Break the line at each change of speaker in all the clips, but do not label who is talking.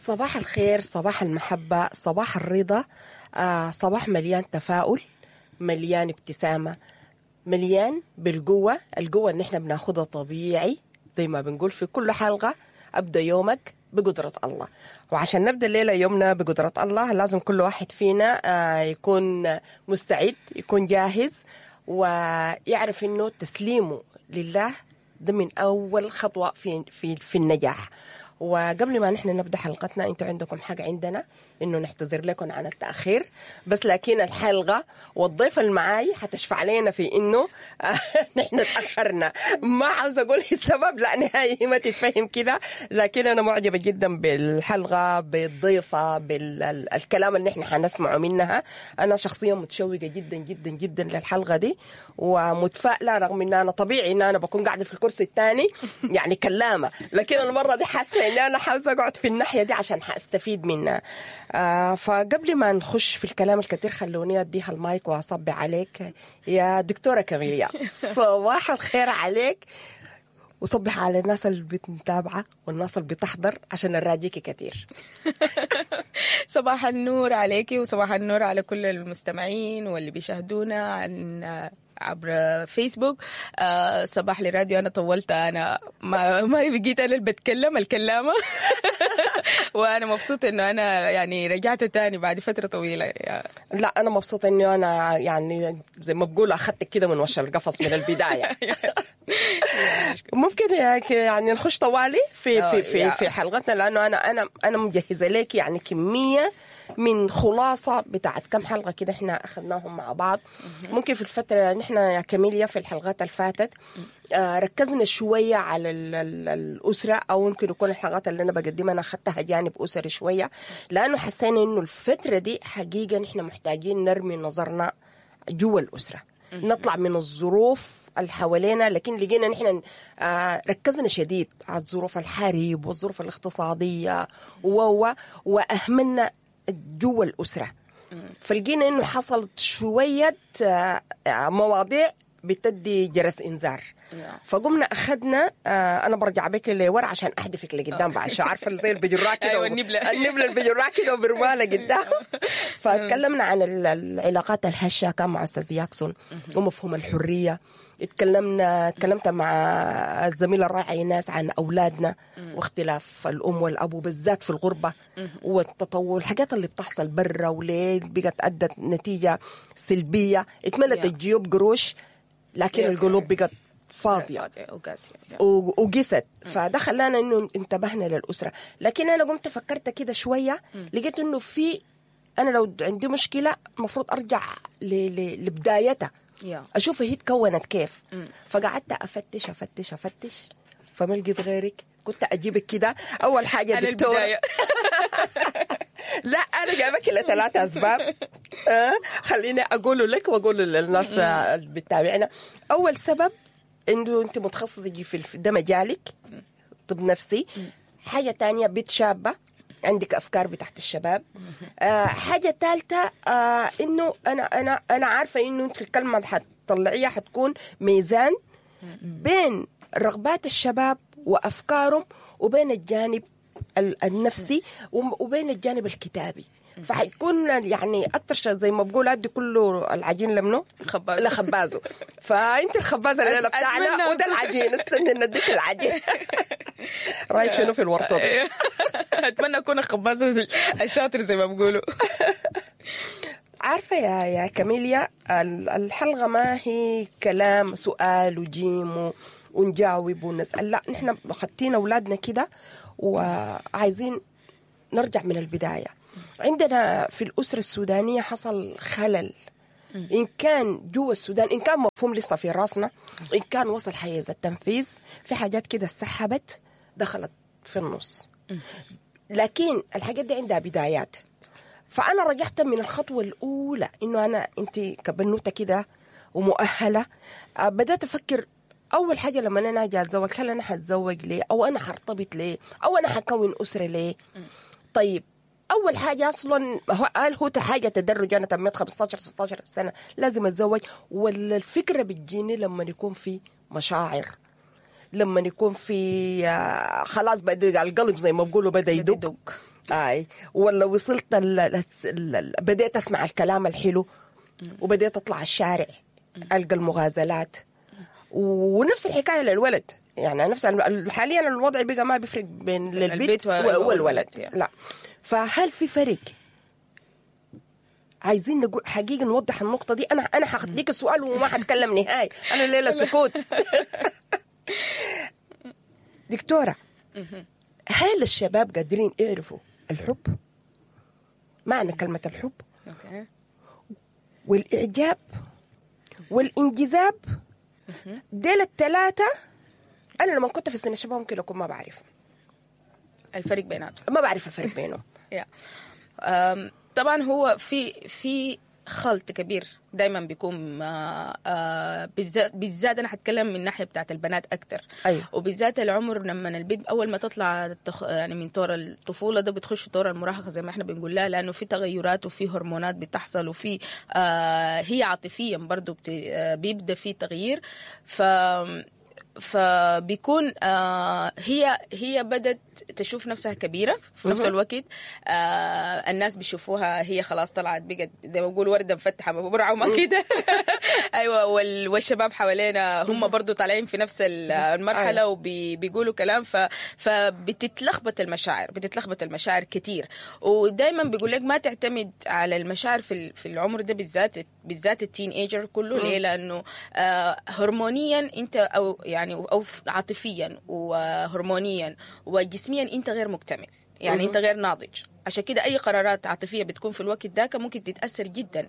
صباح الخير، صباح المحبة، صباح الرضا، صباح مليان تفاؤل، مليان ابتسامة، مليان بالقوة، القوة اللي احنا بناخدها طبيعي زي ما بنقول في كل حلقة، أبدأ يومك بقدرة الله. وعشان نبدأ الليلة يومنا بقدرة الله لازم كل واحد فينا يكون مستعد، يكون جاهز، ويعرف إنه تسليمه لله ده من أول خطوة في في في النجاح. وقبل ما نحن نبدأ حلقتنا، انتوا عندكم حق عندنا انه نعتذر لكم عن التأخير، بس لكن الحلقة والضيف المعاي حتشفع لنا في انه نحن تأخرنا. ما عاوزة اقول السبب، لا نهائي ما تتفهم كده، لكن انا معجبة جدا بالحلقة، بالضيفة، بالكلام اللي نحن حنسمعه منها. انا شخصيا متشوقة جدا جدا جدا للحلقة دي ومتفائلة، رغم ان انا طبيعي ان انا بكون قاعدة في الكرسي الثاني يعني كلامة، لكن المرة دي حاسة ان انا عاوزة اقعد في الناحية دي عشان حاستفيد منها. فقبل ما نخش في الكلام الكثير خلوني اديها المايك واصبي عليك يا دكتورة كاميليا. صباح الخير عليك، وصبح على الناس اللي بتتابعة والناس اللي بتحضر عشان نراجيكي كثير.
صباح النور عليكي وصباح النور على كل المستمعين واللي بيشاهدونا عن عبر فيسبوك. صباح للراديو. أنا طولت، أنا ما بقيت أنا اللي بتكلم الكلامة. وأنا مبسوطة إنه أنا يعني رجعت تاني بعد فترة طويلة.
لا أنا مبسوطة إنه أنا يعني زي ما بقول أخذتك كده من وش القفص من البداية. ممكن يعني نخش طوالي في في في في حلقتنا، لأنه أنا أنا مجهزة لك يعني كمية من خلاصة بتاعت كم حلقة كده احنا أخذناهم مع بعض. ممكن في الفترة نحن يا كاميليا في الحلقات اللي فاتت ركزنا شوية على الأسرة، أو ممكن يكون الحلقات اللي أنا بقدمها أنا أخذتها جانب أسري شوية، لأنه حسينا إنه الفترة دي حقيقة نحن محتاجين نرمي نظرنا جوا الأسرة، نطلع من الظروف اللي حوالينا. لكن لقينا نحن ركزنا شديد على الظروف الحرب والظروف الاقتصادية وأهملنا جوا الأسرة. فلقينا إنه حصلت شوية مواضيع بتدي جرس إنذار. فقمنا أخذنا أنا برجع بك لورا عشان أحدفك لقدام بعد شو عارفة زي البجراء كده.
أيوة النبلة،
النبلة البجراء كده وبرمالة قدام. فتكلمنا عن العلاقات الهشة كان مع أستاذ ياكسون ومفهوم الحرية. تكلمت مع الزميل الرائع ايناس عن أولادنا واختلاف الأم والأبو بالذات في الغربة والتطور، الحاجات اللي بتحصل برا وليه بقت أدت نتيجة سلبية. اتملت الجيوب قروش لكن القلوب بقت فاضية وقست. فده خلانا إنه انتبهنا للأسرة. لكن أنا قمت فكرت كده شوية، لقيت إنه في أنا لو عندي مشكلة المفروض أرجع لبدايتها، أشوف هي تكونت كيف. فقعدت أفتش أفتش أفتش فما لقيت غيرك. كنت أجيبك كده أول حاجة دكتورة. لا أنا جايبك لثلاثة أسباب. خليني أقوله لك وأقوله للناس اللي بتتابعنا. أول سبب إنه أنت متخصصة في ده مجالك، طب نفسي. حاجة تانية بنت شابة عندك أفكار بتاعت الشباب. حاجة ثالثة إنه أنا عارفة إنه أنت الكلمة اللي حتطلعيها حتكون ميزان بين رغبات الشباب وأفكارهم وبين الجانب النفسي وبين الجانب الكتابي. فحيكون يعني أكتر شيء زي ما بقول أدي كله العجين لمنه لخبازه. فأنت الخبازة اللي بتاعنا وده العجين، استني نديك العجين. رأيك شنو في الورطة دي؟
أتمنى أكون الخبازة الشاطر زي ما بقولوا.
عارفة يا كاميليا، الحلقة ما هي كلام سؤال وجيم ونجاوب ونسأل، لا نحن خدتينا أولادنا كده وعايزين نرجع من البداية. عندنا في الأسرة السودانية حصل خلل، إن كان جوا السودان، إن كان مفهوم لسه في راسنا، إن كان وصل حيز التنفيذ، في حاجات كده سحبت دخلت في النص. لكن الحاجات دي عندها بدايات. فأنا رجعت من الخطوة الأولى إنه أنا أنت كبنوتة كده ومؤهلة، بدأت أفكر أول حاجة لما أنا أجي أتزوج، هل أنا حتزوج ليه؟ أو أنا حرتبط ليه؟ أو أنا حكون أسرة ليه؟ طيب أول حاجة أصلاً هو قال هو حاجة تدرج، أنا تميت 15 16 سنة لازم أتزوج، ولا الفكرة بتجيني لما يكون في مشاعر، لما يكون في خلاص بدأ القلب زي ما بقولوا بدأ يدق. اي ولا وصلت بديت اسمع الكلام الحلو وبديت اطلع الشارع القى المغازلات. ونفس الحكاية للولد، يعني نفس حاليا الوضع بقى ما بيفرق بين للبنت والولد، لا. فهل في فرق؟ عايزين نقول حقيقة نوضح النقطة دي. انا هديك السؤال وما هتكلم نهائي، انا الليلة سكوت. دكتورة، هل الشباب قادرين يعرفوا الحب؟ معنى كلمة الحب والإعجاب والانجذاب، ديل الثلاثة أنا لما كنت في سن الشباب ممكن أكون ما بعرف
الفرق بيناتهم،
ما بعرف الفرق بينهم.
طبعا هو في خلط كبير دايما بيكون، بالذات انا هتكلم من الناحية بتاعت البنات اكتر.
أيوه.
وبالذات العمر لما البنت اول ما تطلع يعني من طور الطفولة ده بتخش طور المراهقة زي ما احنا بنقول لها، لانه في تغيرات وفي هرمونات بتحصل، وفي هي عاطفيا برضو بيبدا في تغيير. فبيكون هي بدت تشوف نفسها كبيرة في نفس الوقت. الناس بيشوفوها هي خلاص طلعت بقت زي ما بقول وردة مفتحة برعة وما كده. أيوة، والشباب حوالينا هم برضو طالعين في نفس المرحلة وبيقولوا كلام، فبتتلخبط المشاعر، بتتلخبط المشاعر كتير. ودايما بيقول لك ما تعتمد على المشاعر في العمر ده بالذات ال teenager كله. ليه؟ لأنه هرمونيا أنت أو يعني أو عاطفيا وهرمونيا وجسميا أنت غير مكتمل، يعني أنت غير ناضج. عشان كده أي قرارات عاطفية بتكون في الوقت ذاك ممكن تتأثر جدا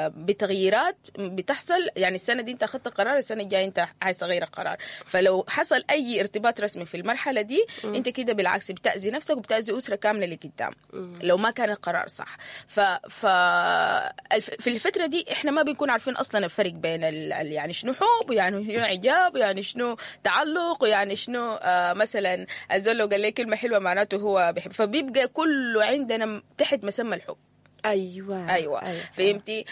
بتغييرات بتحصل. يعني السنة دي أنت أخذت قرار، السنة الجاية أنت عايز تغير القرار. فلو حصل أي ارتباط رسمي في المرحلة دي أنت كده بالعكس بتأذي نفسك وبتأذي أسرة كاملة لقدام لو ما كان القرار صح. في الفترة دي إحنا ما بنكون عارفين أصلا الفرق بين يعني شنو حب، ويعني شنو إعجاب، ويعني شنو تعلق، ويعني شنو مثلا الزول لو قال لي كلمة حلوة معناته هو بيحب. فبيبقى كله عندنا تحت مسمى الحب. أيوة. فهمتي؟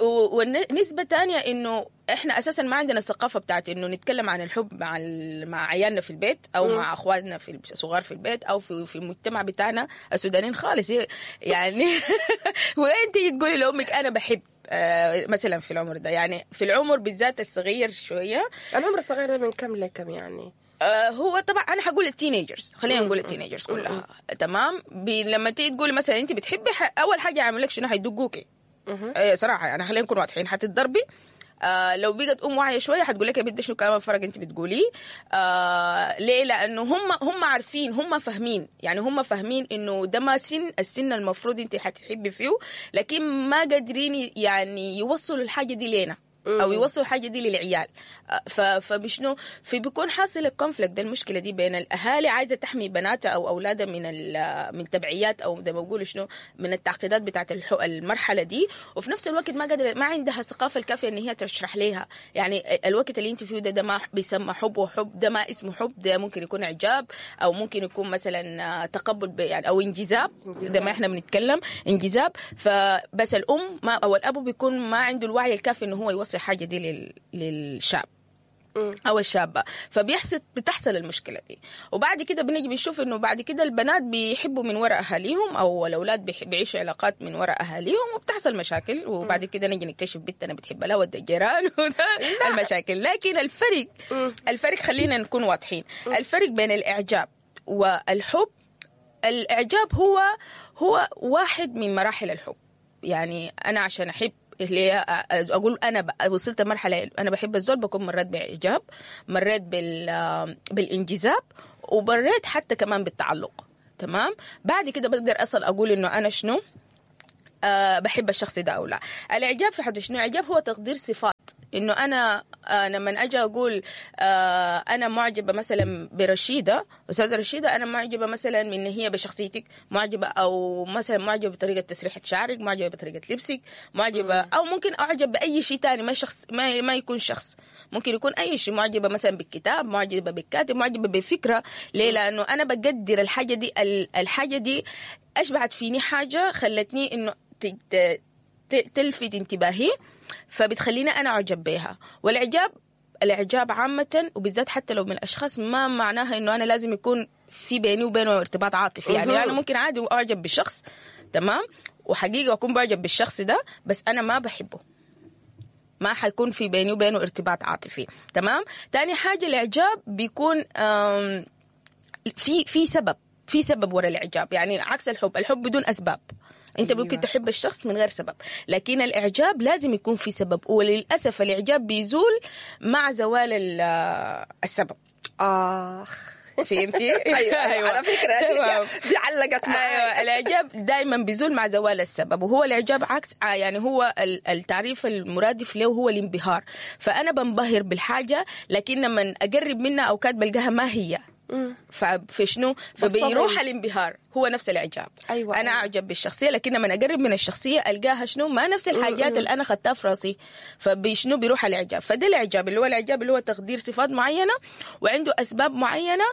والنسبة تانية إنه إحنا أساساً ما عندنا الثقافة بتاعت إنه نتكلم عن الحب مع عيالنا في البيت أو مع أخواتنا في الصغار في البيت أو في المجتمع بتاعنا السودانيين خالص. يعني وأنت تقولي لأمك أنا بحب مثلا في العمر ده، يعني في العمر بالذات الصغير شوية.
العمر الصغير ده من كم لكم يعني؟
هو طبعا انا هقول ال teenagers، خلينا نقول ال teenagers كلها. تمام. لما تيجي تقولي مثلا انت بتحبي، اول حاجة يعمل لك شنو؟ حيدقوكي. صراحة يعني خلينا نكون واضحين، حتتضربي. لو بقت ام واعية شوية حتقول لك يا بنت شنو كلام الفرق انت بتقوليه؟ ليه؟ لانه هم عارفين، هم فاهمين، يعني هم فاهمين انه ده ما سن السن المفروض انت حتحبي فيه، لكن ما قادرين يعني يوصلوا الحاجة دي لنا او يوصلوا الحاجة دي للعيال. فبشنو في بيكون حاصل ال conflict ده، المشكلة دي بين الاهالي عايزه تحمي بناتها او اولادها من تبعيات او زي ما بيقولوا شنو من التعقيدات بتاعت المرحلة دي، وفي نفس الوقت ما قادرة، ما عندها الثقافة الكافيه ان هي تشرح لها يعني الوقت اللي انت فيه ده ما بيسمى حب، وحب ده ما اسمه حب، ده ممكن يكون اعجاب او ممكن يكون مثلا تقبل يعني او انجذاب زي ما احنا بنتكلم انجذاب. فبس الام ما او الاب بيكون ما عنده الوعي الكافي انه هو يوصل حاجة دي للشاب او الشابة، فبيحصل المشكلة دي. وبعد كده بنيجي بنشوف انه بعد كده البنات بيحبوا من وراء اهاليهم او الاولاد بيعيشوا علاقات من وراء اهاليهم، وبتحصل مشاكل. وبعد كده نيجي نكتشف بنتنا بتحب لها ود الجيران وده المشاكل. لكن الفرق خلينا نكون واضحين، الفرق بين الاعجاب والحب، الاعجاب هو واحد من مراحل الحب. يعني انا عشان احب اللي اقول انا وصلت مرحلة انا بحب الزول، بكون مريت باعجاب، مريت بالانجذاب، ومريت حتى كمان بالتعلق. تمام. بعد كده بقدر اصل اقول انه انا شنو بحب الشخص ده او لا. الاعجاب في حد شنو؟ الاعجاب هو تقدير صفات، انه انا لما اجي اقول انا معجبه مثلا برشيده، استاذه رشيده، انا معجبه مثلا من هي بشخصيتك، معجبه او مثلا معجبه بطريقة تسريحه شعرك، معجبه بطريقة لبسك، معجبه او ممكن اعجب باي شيء ثاني، ما شخص، ما يكون شخص، ممكن يكون اي شيء. معجبه مثلا بالكتاب، معجبه بالكاتب، معجبه بفكره. ليه؟ لانه انا بقدر الحاجة دي، الحاجة دي اشبعت فيني حاجة خلتني انه تلفت انتباهي، فبتخليني انا اعجب بيها. والاعجاب الاعجاب عامة وبالذات حتى لو من اشخاص، ما معناها انه انا لازم يكون في بيني وبينه ارتباط عاطفي. يعني انا ممكن عادي اعجب بالشخص، تمام، وحقيقة اكون بعجب بالشخص ده، بس انا ما بحبه، ما حيكون في بيني وبينه ارتباط عاطفي. تمام. تاني حاجة الاعجاب بيكون في سبب، في سبب ورا الاعجاب، يعني عكس الحب. الحب بدون اسباب، انت ممكن تحب الشخص من غير سبب، لكن الاعجاب لازم يكون في سبب، وللاسف الاعجاب بيزول مع زوال السبب.
اخ،
فهمتي؟
ايوه على فكرة دي علقت معي.
ايوه، الاعجاب دائما بيزول مع زوال السبب، وهو الاعجاب عكس، يعني هو التعريف المرادف له هو الانبهار. فانا بنبهر بالحاجة، لكن لما اقرب منها اوقات بلقاها ما هي، ففي شنو؟ فبيروح الانبهار، هو نفس الاعجاب.
أيوة.
انا اعجب بالشخصية، لكن لما اقرب من الشخصية القاها شنو؟ ما نفس الحاجات اللي انا خدتها في راسي، فبشنو بيروح الاعجاب. فده الاعجاب اللي هو الاعجاب اللي هو تقدير صفات معينة وعنده اسباب معينة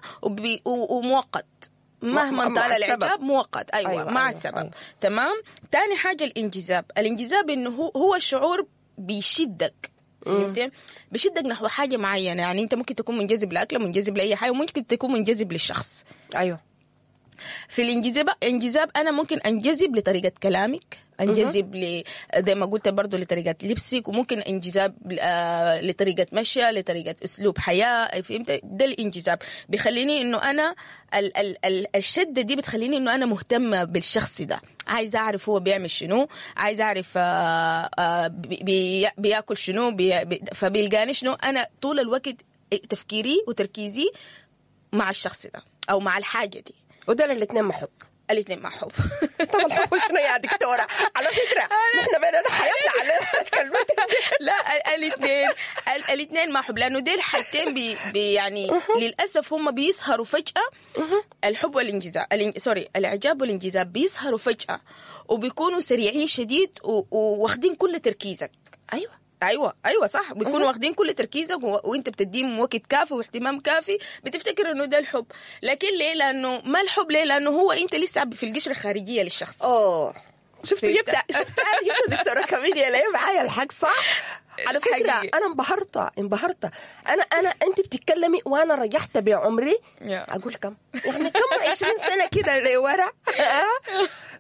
ومؤقت، مهما طال الاعجاب مؤقت. ايوه, أيوة، مع السبب. أيوة. تمام. تاني حاجة الانجذاب. الانجذاب انه هو الشعور بيشدك، فهمتي؟ بشدك نحو حاجة معينة. يعني انت ممكن تكون منجذب لاكله، منجذب لاي حاجة، وممكن تكون منجذب للشخص.
ايوه.
في الانجذاب، انجذاب انا ممكن انجذب لطريقه كلامك، انجذب زي ما قلت برضو لطريقه لبسك، وممكن انجذاب لطريقه مشي، لطريقه اسلوب حياة. فهمت؟ ده الانجذاب بيخليني انه انا الشدة دي بتخليني انه انا مهتمة بالشخص ده، عايز اعرف هو بيعمل شنو، عايز اعرف بياكل شنو، فبيلقاني شنو. انا طول الوقت تفكيري وتركيزي مع الشخص ده او مع الحاجة دي.
وده الاثنين مع حب.
الاثنين مع حب.
طب الحب شنو يا دكتورة؟ على فكرة نحن بيننا حياتنا على الكلمتين.
لا، الاثنين مع حب، لانه دي الحاجتين بي يعني للاسف هم بيسهروا فجاة. الحب والانجذاب، sorry، الاعجاب والانجذاب بيسهروا فجاة، وبيكونوا سريعين شديد وواخدين كل تركيزك.
ايوه
ايوه ايوه صح، بيكونوا واخدين كل تركيزك، وانت بتديهم وقت كافي واهتمام كافي، بتفتكر انه ده الحب. لكن ليه؟ لانه ما الحب. ليه؟ لانه هو انت لسه في القشرة الخارجية للشخص.
شفت جبت شفت جبت دكتورة كاميليا ليه معايا الحق صح؟ على فكرة انا انبهرت انا انت بتتكلمي وانا رجعت بعمري اقول كم، يعني كم 20 سنة كده لورا.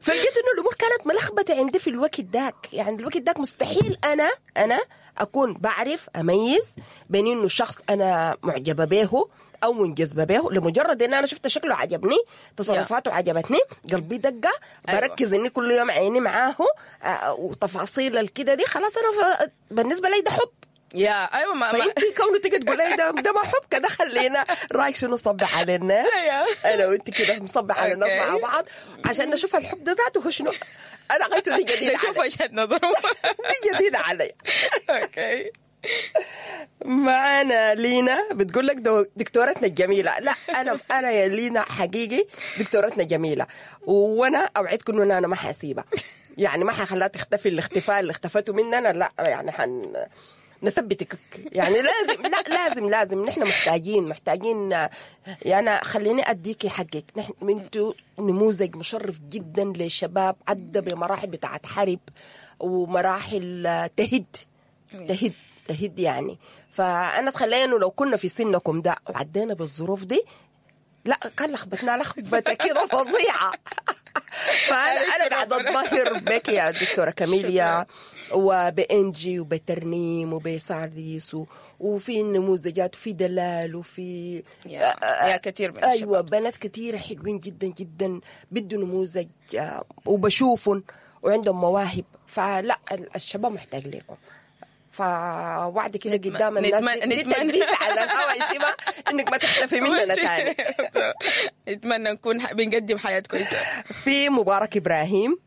فلقيت انه الامور كانت ملخبطة عندي في الوقت داك. يعني الوقت داك مستحيل انا اكون بعرف اميز بين انه شخص انا معجبه به او منجذبه به لمجرد ان انا شفت شكله عجبني، تصرفاته عجبتني، قلبي دقه، بركز اني كل يوم عيني معاه وتفاصيل الكده دي، خلاص انا بالنسبة لي ده حب.
يا ايوه. ما
فانت كونه تيجي تقولي ده ما حب كده، خلينا رايك شنو؟ نصبح على الناس انا وانت كده، نصبح على الناس مع بعض عشان نشوف الحب ده ذاته هو شنو. انا غايته دي جديدة،
نشوف وجهه نظرهم.
دي جديدة علي.
okay.
معانا لينا بتقول لك دكتورتنا الجميلة. لا انا يا لينا حقيقي دكتورتنا جميلة، وانا اوعدكم انه انا ما حاسيبها، يعني ما حخليها تختفي الاختفاء اللي اختفته مننا. لا يعني نثبتك، يعني لازم، لا لازم لازم نحن محتاجين. يعني خليني اديكي حقك، نحن انتوا نموذج مشرف جدا لشباب عدى بمراحل بتاعت حرب ومراحل تهد تهد تهد يعني. فانا اتخيل انه لو كنا في سنكم ده وعدينا بالظروف دي، لا كان لخبطنا لخبطة كده فظيعة. فانا قاعدة اتظاهر بك يا دكتورة كاميليا، وبانجي وبترنيم وبسارديس، وفي نموذجات وفي دلال وفي
يا كثير من
ايوه بنات كثيرة حلوين جدا جدا بدوا نموذج وبشوفهم وعندهم مواهب. فلا الشباب محتاج لكم. فوعد كده قدام الناس دي تنبيه على الهوا يسيبها انك ما تختفي مننا تاني.
نتمنى نكون بنقدم حياة كويسة.
في مبارك ابراهيم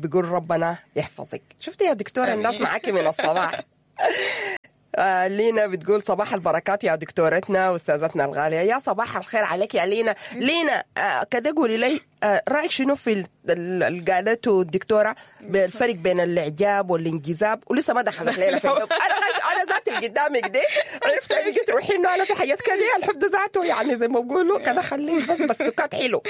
بيقول ربنا يحفظك. شفتي يا دكتورة الناس معاكي من الصباح. لينا بتقول صباح البركات يا دكتورتنا واستاذتنا الغالية. يا صباح الخير عليك يا لينا. لينا كده قولي لي رايك شنو في اللي قالته الدكتورة بالفرق بين الاعجاب والانجذاب، ولسه ما دخلت لنا في الحب. انا ذاتي اللي قدامك دي عرفت انك تروحي انه انا في حاجات كده الحب ده ذاته يعني زي ما بقولوا كده خليه بس سكات حلو.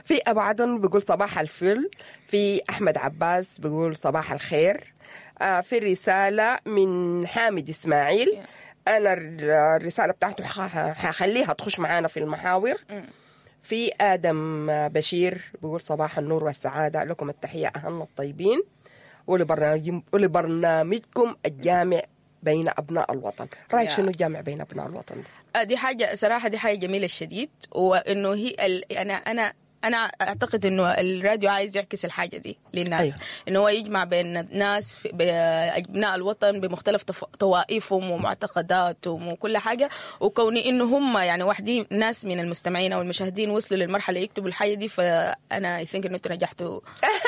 في ابو عدن بيقول صباح الفل. في احمد عباس بيقول صباح الخير. في رسالة من حامد إسماعيل. انا الرسالة بتاعته حخليها تخش معانا في المحاور. في ادم بشير بيقول صباح النور والسعادة، لكم التحية اهلنا الطيبين ولبرنامجكم الجامع بين ابناء الوطن. رايك شنو الجامع بين ابناء الوطن ده؟
دي حاجة صراحة، دي حاجة جميلة شديد، وانه هي انا اعتقد انه الراديو عايز يعكس الحاجة دي للناس. أيوه. انه هو يجمع بين ناس ابناء الوطن بمختلف طوائفهم ومعتقداتهم وكل حاجة، وكوني انه هم يعني واحدين ناس من المستمعين او المشاهدين وصلوا للمرحلة يكتبوا الحاجة دي، فانا I think انه انتوا نجحتوا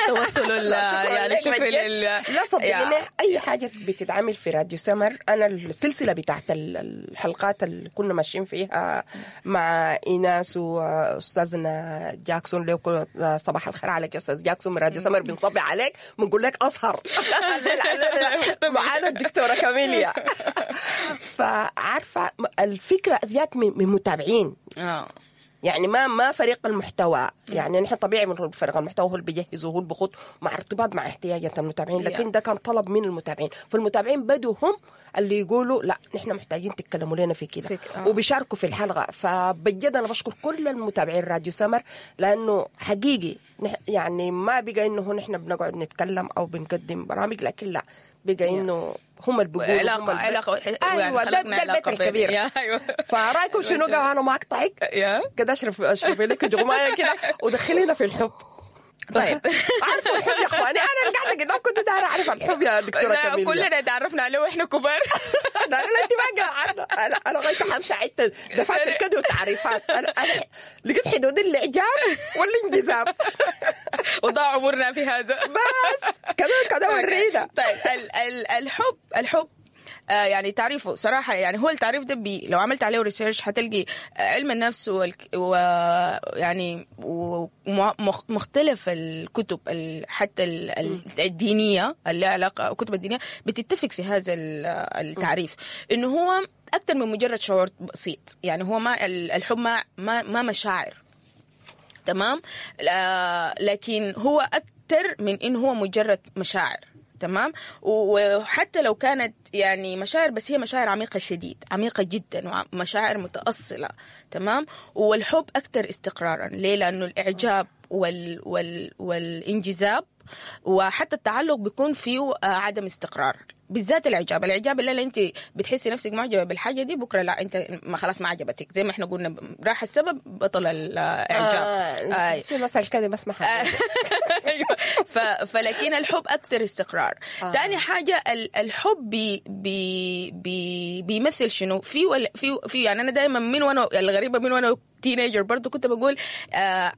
توصلوا يعني شكرا لل
لا صدقيني اي حاجة بتتعمل في راديو سمر، انا السلسلة بتاعت الحلقات اللي كنا ماشيين فيها مع ايناس واستاذنا جاكسون، لكم صباح الخير عليك يا استاذ جاكسون من راديو سمر، بنصبي عليك بنقول لك اسهر معانا الدكتورة كاميليا. فعارفه الفكرة جات من متابعين، يعني ما فريق المحتوى، يعني نحن طبيعي من فريق المحتوى هو اللي بيجهز وهو اللي بخط مع ارتباط مع احتياجات المتابعين، لكن ده كان طلب من المتابعين، فالمتابعين بدوا هم اللي يقولوا لا نحن محتاجين تتكلموا لنا في كده، وبيشاركوا في الحلقة. فبجد انا بشكر كل المتابعين راديو سمر، لانه حقيقي يعني ما بقى انه نحن بنقعد نتكلم او بنقدم برامج، لكن لا بقى انه هم اللي بيقولوا
علاقة.
ايوه ده البيت الكبير.
ايوه.
فرايكم شنو؟ انا ما اقطعك كده، اشرفي لك جغمايه كده ودخلينا في الحب.
طيب
عارفه الحب يا اخواني، انا اللي قاعدة قدامكم كنت دايرة اعرف الحب يا دكتورة كاميليا.
كلنا تعرفنا عليه واحنا كبار.
لا انت ما قاعدة، انا لغاية حمشي عدت دفاتر كده وتعريفات، انا لقيت حدود الاعجاب والانجذاب
وضاع عمرنا في هذا.
بس كده ورينا.
طيب الحب يعني تعريفه صراحة، يعني هو التعريف ده لو عملت عليه research هتلقي علم النفس ويعني ومختلف الكتب حتى الدينية اللي علاقة الكتب الدينية بتتفق في هذا التعريف، إنه هو أكثر من مجرد شعور بسيط. يعني هو ما الحب ما مشاعر، تمام، لكن هو أكثر من إنه هو مجرد مشاعر، تمام. وحتى لو كانت يعني مشاعر، بس هي مشاعر عميقة شديد، عميقة جدا، ومشاعر متأصلة، تمام. والحب أكثر استقرارا. ليه؟ لأنه الإعجاب والانجذاب وحتى التعلق بيكون فيه عدم استقرار، بالذات الإعجاب. الإعجاب اللي أنت بتحسي نفسك معجبة بالحاجة دي، بكرة لا أنت ما خلاص ما عجبتك، زي ما إحنا قلنا راح السبب بطل الإعجاب.
في مثل كده بس ما
أيوة. فلكن الحب أكثر استقرار. تاني حاجة الحب بي بي بي بيمثل شنو في في يعني أنا دايما من وأنا الغريبة من وأنا teenager برضو كنت بقول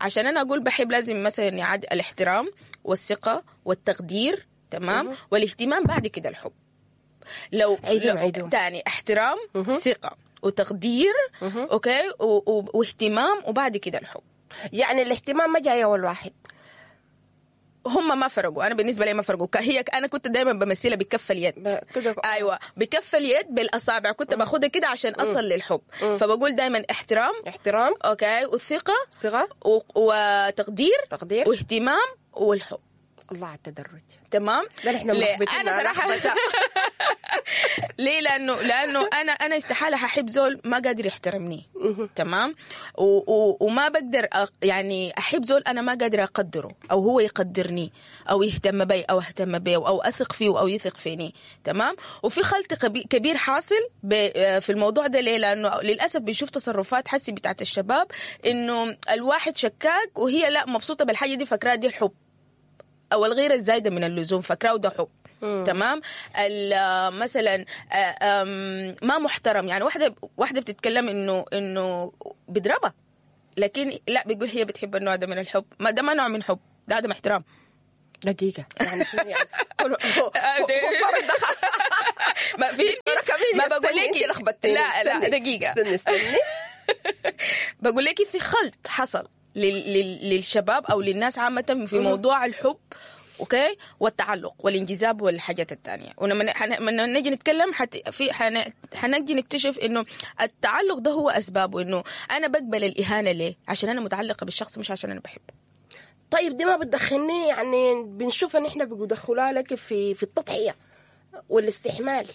عشان أنا أقول بحب لازم مثلا يعد الاحترام والثقة والتقدير، تمام، والاهتمام، بعد كده الحب. لو
عيدهم
تاني احترام، ثقة وتقدير، okay، واهتمام، وبعد كده الحب.
يعني الاهتمام ما جاي اول واحد،
هم ما فرقوا. انا بالنسبة لي ما فرقوا. هي انا كنت دايما بمثلها بكف اليد، ايوه بكف اليد بالاصابع، كنت باخدها كده عشان اصل للحب. فبقول دايما احترام، okay، والثقة،
ثقة،
وتقدير، واهتمام، والحب.
الله على التدرج،
تمام.
لا نحن
انا صراحة ليه؟ لانه انا استحالة هحب زول ما قادر يحترمني، تمام، وما بقدر يعني احب زول انا ما قادر اقدره، او هو يقدرني، او يهتم بي، او اهتم بيه، او اثق فيه، او يثق فيني، تمام. وفي خلط كبير حاصل في الموضوع ده. ليه؟ لانه للاسف بنشوف تصرفات حسي بتاعت الشباب انه الواحد شكاك وهي لا مبسوطة بالحاجة دي، فاكراها دي الحب، او الغيرة الزايدة من اللزوم فاكراه ده حب، تمام. مثلا ما محترم، يعني واحدة بتتكلم انه بيضربها، لكن لا بيقول هي بتحب النوع ده من الحب. ما ده ما نوع من حب، ده عدم احترام.
دقيقة يعني شنو يعني؟
ما في، ما بقول لك لا دقيقة،
استني
بقول لك في خلط حصل للشباب او للناس عامة في موضوع الحب، okay، والتعلق والانجذاب والحاجات الثانية. ولما نجي نتكلم حنجي نكتشف انه التعلق ده هو اسبابه، انه انا بقبل الاهانة ليه؟ عشان انا متعلقه بالشخص، مش عشان انا بحبه.
طيب دي ما بتدخلني، يعني بنشوف ان احنا بيدخلوها لك في التضحية والاستحمال.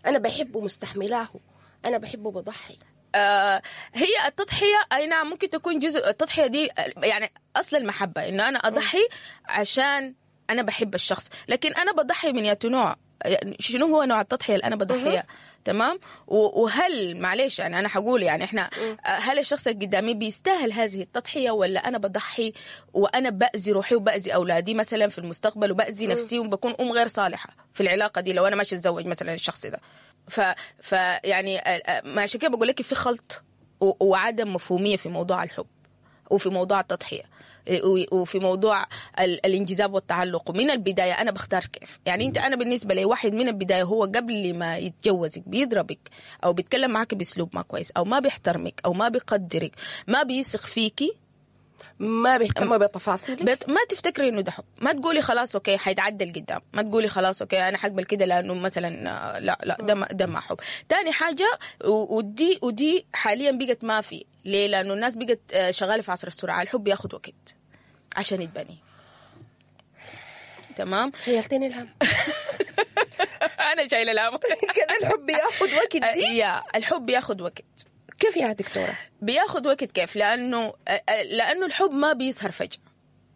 انا بحبه مستحملاه، انا بحبه بضحي.
هي التضحية اي نعم ممكن تكون جزء، التضحية دي يعني اصل المحبة، انه انا اضحي عشان انا بحب الشخص، لكن انا بضحي من ياتو نوع، يعني شنو هو نوع التضحية اللي انا بضحيها؟ تمام. وهل معلش يعني انا حقول يعني احنا هل الشخص اللي قدامي بيستاهل هذه التضحية، ولا انا بضحي وانا باذي روحي وباذي اولادي مثلا في المستقبل، وباذي نفسي وبكون ام غير صالحه في العلاقة دي لو انا ماشي اتزوج مثلا الشخص ده. ف يعني ما عشان كده بقول لك في خلط وعدم مفهوميه في موضوع الحب وفي موضوع التضحية وفي موضوع الانجذاب والتعلق. ومن البداية انا بختار كيف يعني انت، انا بالنسبة لي واحد من البداية هو قبل ما يتجوزك بيضربك او بيتكلم معك باسلوب ما كويس، او ما بيحترمك، او ما بيقدرك، ما بيثق فيكي،
ما بيهتم بتفاصيلك،
ما تفتكري انه ده حب. ما تقولي خلاص okay حيتعدل قدام، ما تقولي خلاص okay انا حقبل كده لانه مثلا لا لا ده ما حب. تاني حاجة، ودي حاليا بقت ما في، ليه؟ لانه الناس بقت شغالة في عصر السرعة، الحب بياخد وقت عشان يتبني. تمام.
شيلتني الهم.
انا شايله الهم.
كده الحب بياخد وقت دي؟
يا الحب بياخد وقت.
كيف يا دكتورة؟
بياخد وقت كيف؟ لأنه الحب ما بيظهر فجأة.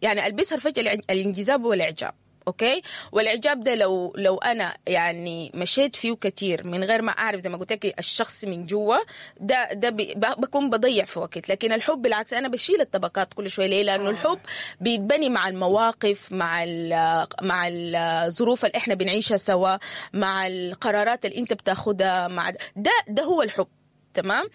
يعني اللي بيظهر فجأة الانجذاب والإعجاب، okay؟ والإعجاب ده لو أنا يعني مشيت فيه كتير من غير ما أعرف زي ما قلت لك الشخص من جوا، ده بكون بضيع في وقت. لكن الحب بالعكس أنا بشيل الطبقات كل شوية. ليه؟ لأنه الحب بيتبني مع المواقف، مع الظروف اللي إحنا بنعيشها سوا، مع القرارات اللي أنت بتاخدها، مع ده هو الحب. تمام.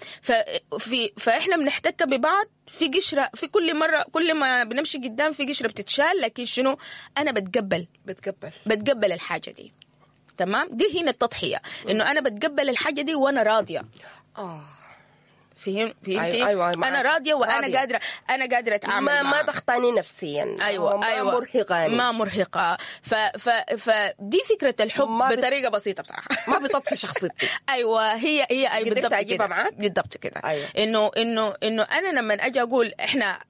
فاحنا بنحتك ببعض في قشرة، في كل مرة كل ما بنمشي قدام في قشرة بتتشال، لكن شنو؟ انا بتقبل الحاجة دي. تمام. دي هنا التضحية، انه انا بتقبل الحاجة دي وانا راضية. فهمتي؟
أيوة.
انا راضية وانا راضية. قادرة، انا قادرة اتعامل،
ما ضغطاني نفسيا.
ايوه ايوه،
ما مرهقاني، ما مرهقة. فدي فكرة الحب بطريقة بسيطة بصراحة. ما بتطفي شخصيتي.
ايوه هي اي
بالضبط كده، معاك
بالضبط كده.
أيوة.
انه انا لما اجي اقول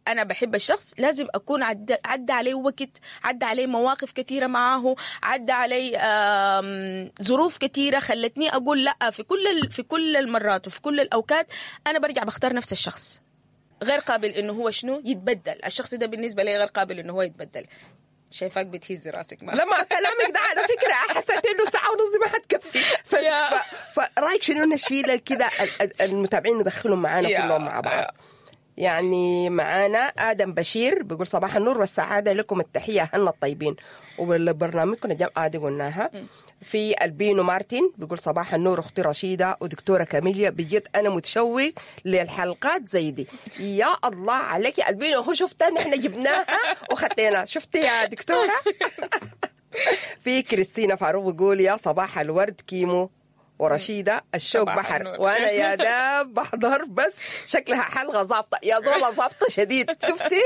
انا بحب الشخص، لازم اكون عدى عليه وقت، عدى عليه مواقف كثيرة معاه، عدى علي ظروف كثيرة خلتني اقول لا في كل المرات وفي كل الاوقات انا برجع بختار نفس الشخص، غير قابل انه هو شنو يتبدل. الشخص ده بالنسبة لي غير قابل انه هو يتبدل. شايفاك بتهزي راسك.
ما لما كلامك ده على فكرة حسيت انه ساعة ونص دي ما حتكفي. فرايك شنو نشيل كده المتابعين ندخلهم معانا كلهم مع بعض؟ يعني معانا آدم بشير بيقول صباح النور والسعادة لكم، التحية أهلنا الطيبين وبرنامجكم الجامعة دي قلناها. في البينو مارتن بيقول صباح النور أختي رشيدة ودكتورة كاميليا، بجد أنا متشوق للحلقات زي دي. يا الله عليك يا البينو، هو شفتها نحن جبناها وخدينا، شفتي يا دكتورة؟ في كريستينا فاروق بيقول يا صباح الورد كيمو ورشيدة، الشوق بحر، وأنا يا داب بحضر، بس شكلها حلقة ظابطة يا زولا، ظابطة شديد. شفتي؟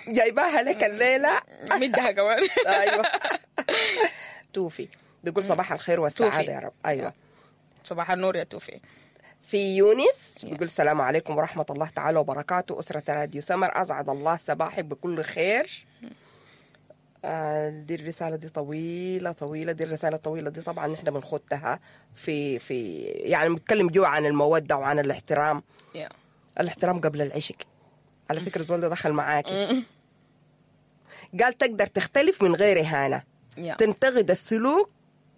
جايباها لك الليلة،
مدها كمان.
أيوة. توفي بيقول صباح الخير والسعادة يا رب. أيوة
صباح النور يا توفي.
في يونس بيقول السلام عليكم ورحمة الله تعالى وبركاته، أسرة راديو سمر، أسعد الله صباحك بكل خير. دي الرسالة دي طويلة طويلة، دي الرسالة الطويلة دي طبعا نحن بنخدها في يعني بنتكلم جوا عن المودة وعن الاحترام. الاحترام قبل العشق. على فكرة زول ده دخل معاكي قال تقدر تختلف من غير إهانة، تنتقد السلوك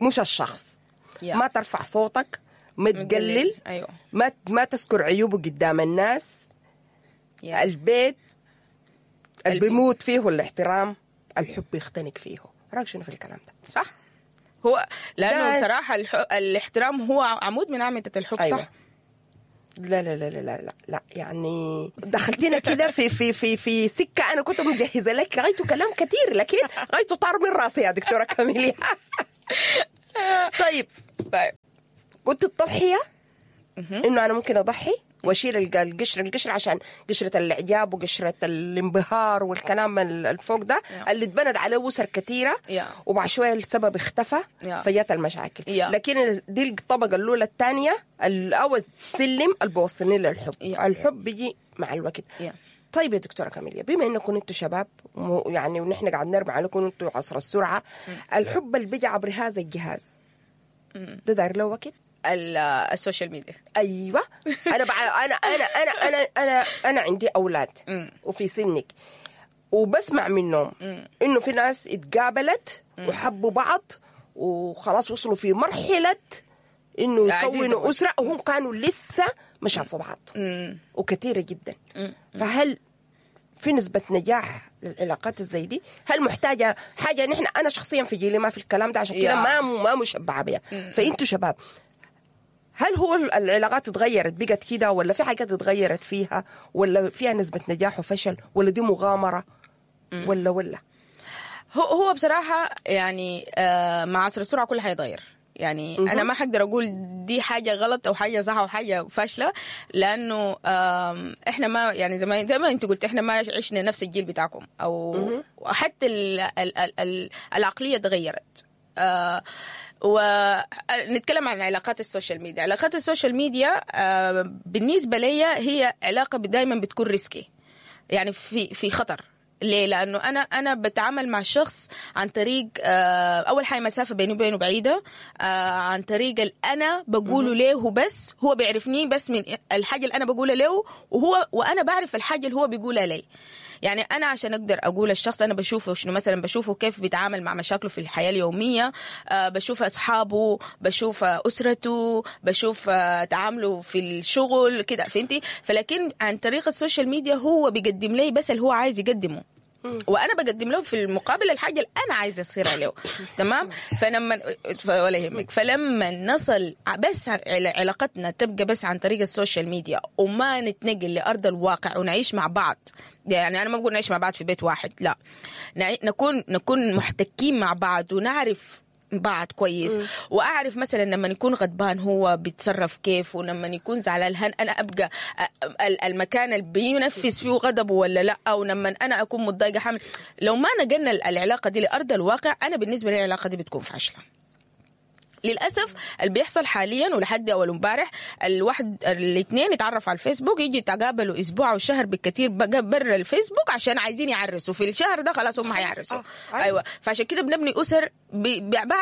مش الشخص، ما ترفع صوتك، ما تقلل،
أيوة.
ما تذكر عيوبه قدام الناس. البيت اللي بيموت فيه الاحترام، الحب يختنق فيه. رايك شنو في الكلام ده؟
صح، هو لانه بصراحة الاحترام هو عمود من اعمدة الحب.
أيوة.
صح.
لا لا لا لا لا لا، يعني دخلتينا كده في في في في سكة انا كنت مجهزة لك غايته كلام كثير، لكن غايته طار من راسي يا دكتورة كاميليا. طيب قلت التضحية، انه انا ممكن اضحي واشيل القشر عشان قشرة الاعجاب وقشره الانبهار والكلام الفوق ده اللي اتبنت عليه اسر كثيرة، وبعد شوية السبب اختفى فجات المشاكل. لكن دي الطبقة الاولى. الثانية اول سلم اللي بيوصلني للحب. الحب بيجي مع الوقت. طيب يا دكتورة كاميليا، بما انكم انتم شباب يعني ونحن قاعد نرمي عليكم انتم عصر السرعة، الحب اللي بيجي عبر هذا الجهاز ده داير له وقت؟
ال social media.
ايوه، انا بع... انا انا انا انا انا انا عندي اولاد وفي سنك، وبسمع منهم انه في ناس اتقابلت وحبوا بعض وخلاص وصلوا في مرحلة انه
عايزين
يكونوا
يتزوجوا.
اسره، وهم كانوا لسه ما شافوا بعض، وكثيره جدا. فهل في نسبة نجاح للعلاقات الزي دي؟ هل محتاجة حاجة؟ نحن أنا شخصيا في جيلي ما في الكلام ده، عشان كده
يا.
ما مشبعة بيها. فأنتوا شباب، هل هو العلاقات اتغيرت بقت كده، ولا في حاجات اتغيرت فيها، ولا فيها نسبة نجاح وفشل، ولا دي مغامرة، ولا
هو بصراحة يعني مع عصر السرعة كل حاجة يتغير. يعني انا ما حقدر اقول دي حاجة غلط او حاجة صح او حاجة فاشله، لانه احنا ما يعني زي ما انت قلت، احنا ما عشنا نفس الجيل بتاعكم، او حتى ال ال ال ال العقلية تغيرت. ونتكلم عن علاقات ال social media. علاقات ال social media بالنسبة لي هي علاقة دايما بتكون risky، يعني في خطر. ليه؟ لانه انا بتعامل مع شخص عن طريق اول حاجة مسافة بيني وبينه بعيدة، عن طريق اللي انا بقوله له، بس هو بيعرفني بس من الحاجة اللي انا بقولها له، وهو وانا بعرف الحاجة اللي هو بيقولها لي. يعني انا عشان اقدر اقول الشخص انا بشوفه شنو، مثلا بشوفه كيف بيتعامل مع مشاكله في الحياة اليوميه، بشوف اصحابه، بشوف اسرته، بشوف تعامله في الشغل كده، فهمتي؟ فلكن عن طريق ال social media هو بيقدم لي بس اللي هو عايز يقدمه، وانا بقدم له في المقابل الحاجة اللي انا عايزه اصيرها له، تمام؟ فلما ولا يهمك، فلما نصل بس علاقتنا تبقى بس عن طريق ال social media وما نتنقل لارض الواقع ونعيش مع بعض، يعني انا ما بقول نعيش مع بعض في بيت واحد، لا، نكون محتكين مع بعض ونعرف بعض كويس. واعرف مثلا لما يكون غضبان هو بيتصرف كيف، ولما يكون زعلان هل انا ابقى المكان اللي بينفذ فيه غضبه ولا لا، او لما انا اكون متضايقة حمل. لو ما نقلنا العلاقة دي لارض الواقع، انا بالنسبة لي العلاقة دي بتكون فاشله. للاسف اللي بيحصل حاليا ولحد اول امبارح، الواحد الاثنين يتعرفوا على الفيسبوك، يجي يتقابلوا اسبوع او شهر بالكثير بقى برا الفيسبوك عشان عايزين يعرسوا في الشهر ده، خلاص هم هيعرسوا. ايوه، فعشان كده بنبني اسر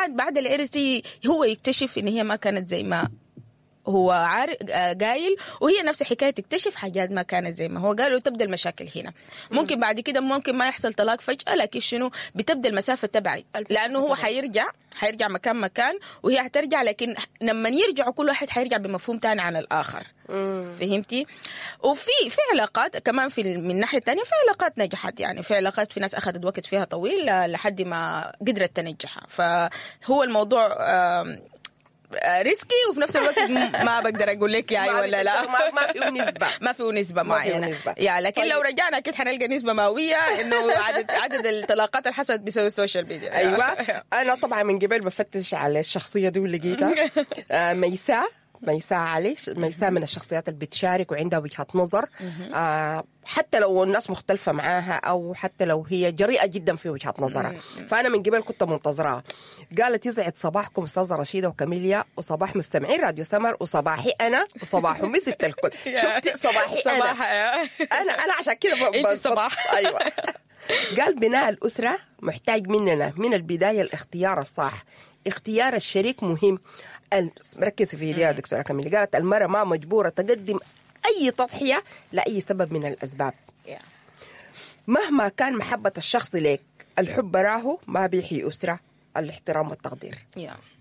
بعد العرس هو يكتشف ان هي ما كانت زي ما هو عارف قايل، وهي نفس الحكاية تكتشف حاجات ما كانت زي ما هو قال، وتبدا المشاكل هنا. ممكن بعد كده ممكن ما يحصل طلاق فجاة، لكن شنو بتبدا المسافة تبعد، لانه هو حيرجع مكان مكان وهي حترجع، لكن لما يرجعوا كل واحد حيرجع بمفهوم تاني عن الاخر. فهمتي؟ وفي علاقات كمان في من الناحية الثانية في علاقات نجحت، يعني في علاقات في ناس اخذت وقت فيها طويل لحد ما قدرت تنجحها. فهو الموضوع risky، وفي نفس الوقت ما بقدر اقول لك يا ايوه ولا لا.
ما فيه نسبه.
ما فيه نسبه معينه، يا لكن طيب. لو رجعنا اكيد حنلقى نسبه مئوية انه عدد الطلاقات اللي حصلت بسبب ال social media.
ايوه، انا طبعا من قبل بفتش على الشخصية دي ولقيتها، ميساء علي. ميساء من الشخصيات اللي بتشارك وعندها وجهة نظر، حتى لو الناس مختلفة معاها أو حتى لو هي جريئة جدا في وجهة نظرها. فأنا من قبل كنت منتظراها. قالت يسعد صباحكم أستاذة رشيدة وكاميليا، وصباح مستمعين راديو سمر، وصباحي أنا وصباح أمي ست الكل. شفتي صباحي أنا؟ أنا عشان كده
أنت صباح.
أيوة. قال بناء الأسرة محتاج مننا من البداية الاختيار الصح، اختيار الشريك مهم. ركزي في دي يا دكتورة كاميلي. قالت المرأة ما مجبورة تقدم أي تضحية لأي سبب من الأسباب، مهما كان محبة الشخص لك، الحب براه ما بيحيي أسرة، الاحترام والتقدير.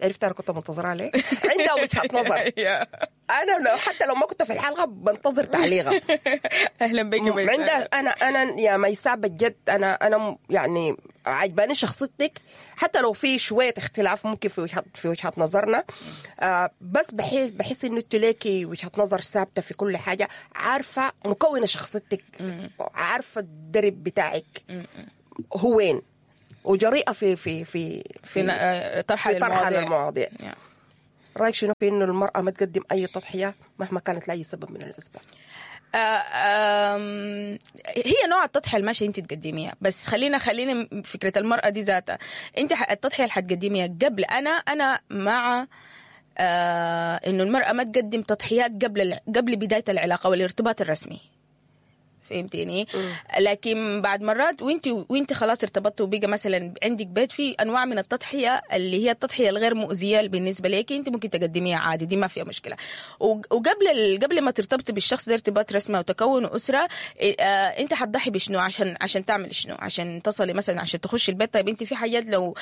عرفت أنا كنت منتظرة ليه؟ عندها وجهة نظر. أنا لو حتى لو ما كنت في الحلقة بنتظر تعليقها.
أهلا بك ميساء.
عندها أنا يا ميساء بجد أنا يعني عجباني شخصيتك، حتى لو في شوية اختلاف ممكن في وجهة نظرنا، بس بحس إنه أنت ليكي وجهة نظر ثابتة في كل حاجة، عارفة مكونة شخصيتك، عارفة الدرب بتاعك هو وين، وجريئة في في في
في طرحها
للمواضيع. رأيك شنو في إنه المرأة ما تقدم أي تضحية مهما كانت لأي سبب من الأسباب؟
هي نوع التضحية الماشية انت تقدميها، بس خلينا فكرة المرأة دي ذاتها، انت التضحية اللي حتقدميها قبل. انا مع انه المرأة ما تقدم تضحيات قبل بداية العلاقة والارتباط الرسمي. فهمتيني؟ لكن بعد مرات وانت خلاص ارتبطت وبقى مثلا عندك بيت، في انواع من التضحية اللي هي التضحية الغير مؤذية بالنسبة لك، انت ممكن تقدميها عادي، دي ما فيها مشكلة. وقبل قبل ما ترتبطي بالشخص ده ارتباط رسمي وتكون اسره، انت حتضحي بشنو عشان تعمل شنو؟ عشان تصلي مثلا، عشان تخشي البيت. طيب انت في حاجات لو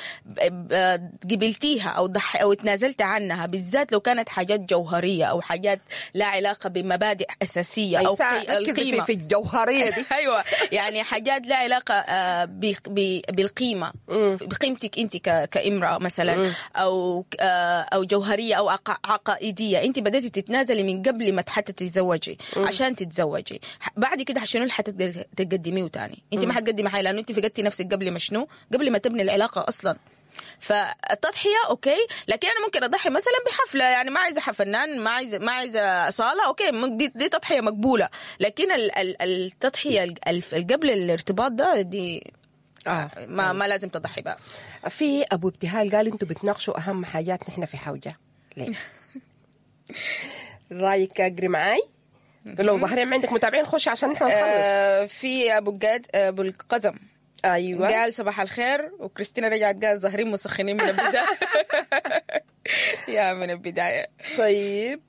قبلتيها او ضحي او تنازلت عنها، بالذات لو كانت حاجات جوهرية او حاجات لا علاقة بمبادئ اساسية او
القيمة في الجوهرية دي.
ايوه، يعني حاجات لا علاقة بالقيمة، بقيمتك انت كامراة مثلا، او جوهرية او عقائدية. انت بدأتي تتنازلي من قبل ما حتى تتزوجي عشان تتزوجي. بعد كده شنو اللي حتقدري تقدميه تاني؟ انت ما حتقدمي حاجة، لانه انت فقدتي نفسك قبل ما شنو؟ قبل ما تبني العلاقة اصلا. فالتضحيه okay، لكن انا ممكن اضحي مثلا بحفلة، يعني ما عايزه فنان، ما عايزه صاله، okay، دي تضحية مقبولة. لكن التضحية قبل الارتباط ده دي ما لازم تضحي بقى.
في ابو ابتهال قال انتوا بتناقشوا اهم حاجات نحن في حوجه ليه؟ رايك اقري معاي؟ لو ظاهرين ما عندك متابعين خش عشان نحن نخلص.
في ابو الجاد ابو القزم،
ايوه،
قال صباح الخير، وكريستينا رجعت قال ظاهرين مسخنين من البداية. يا من البداية.
طيب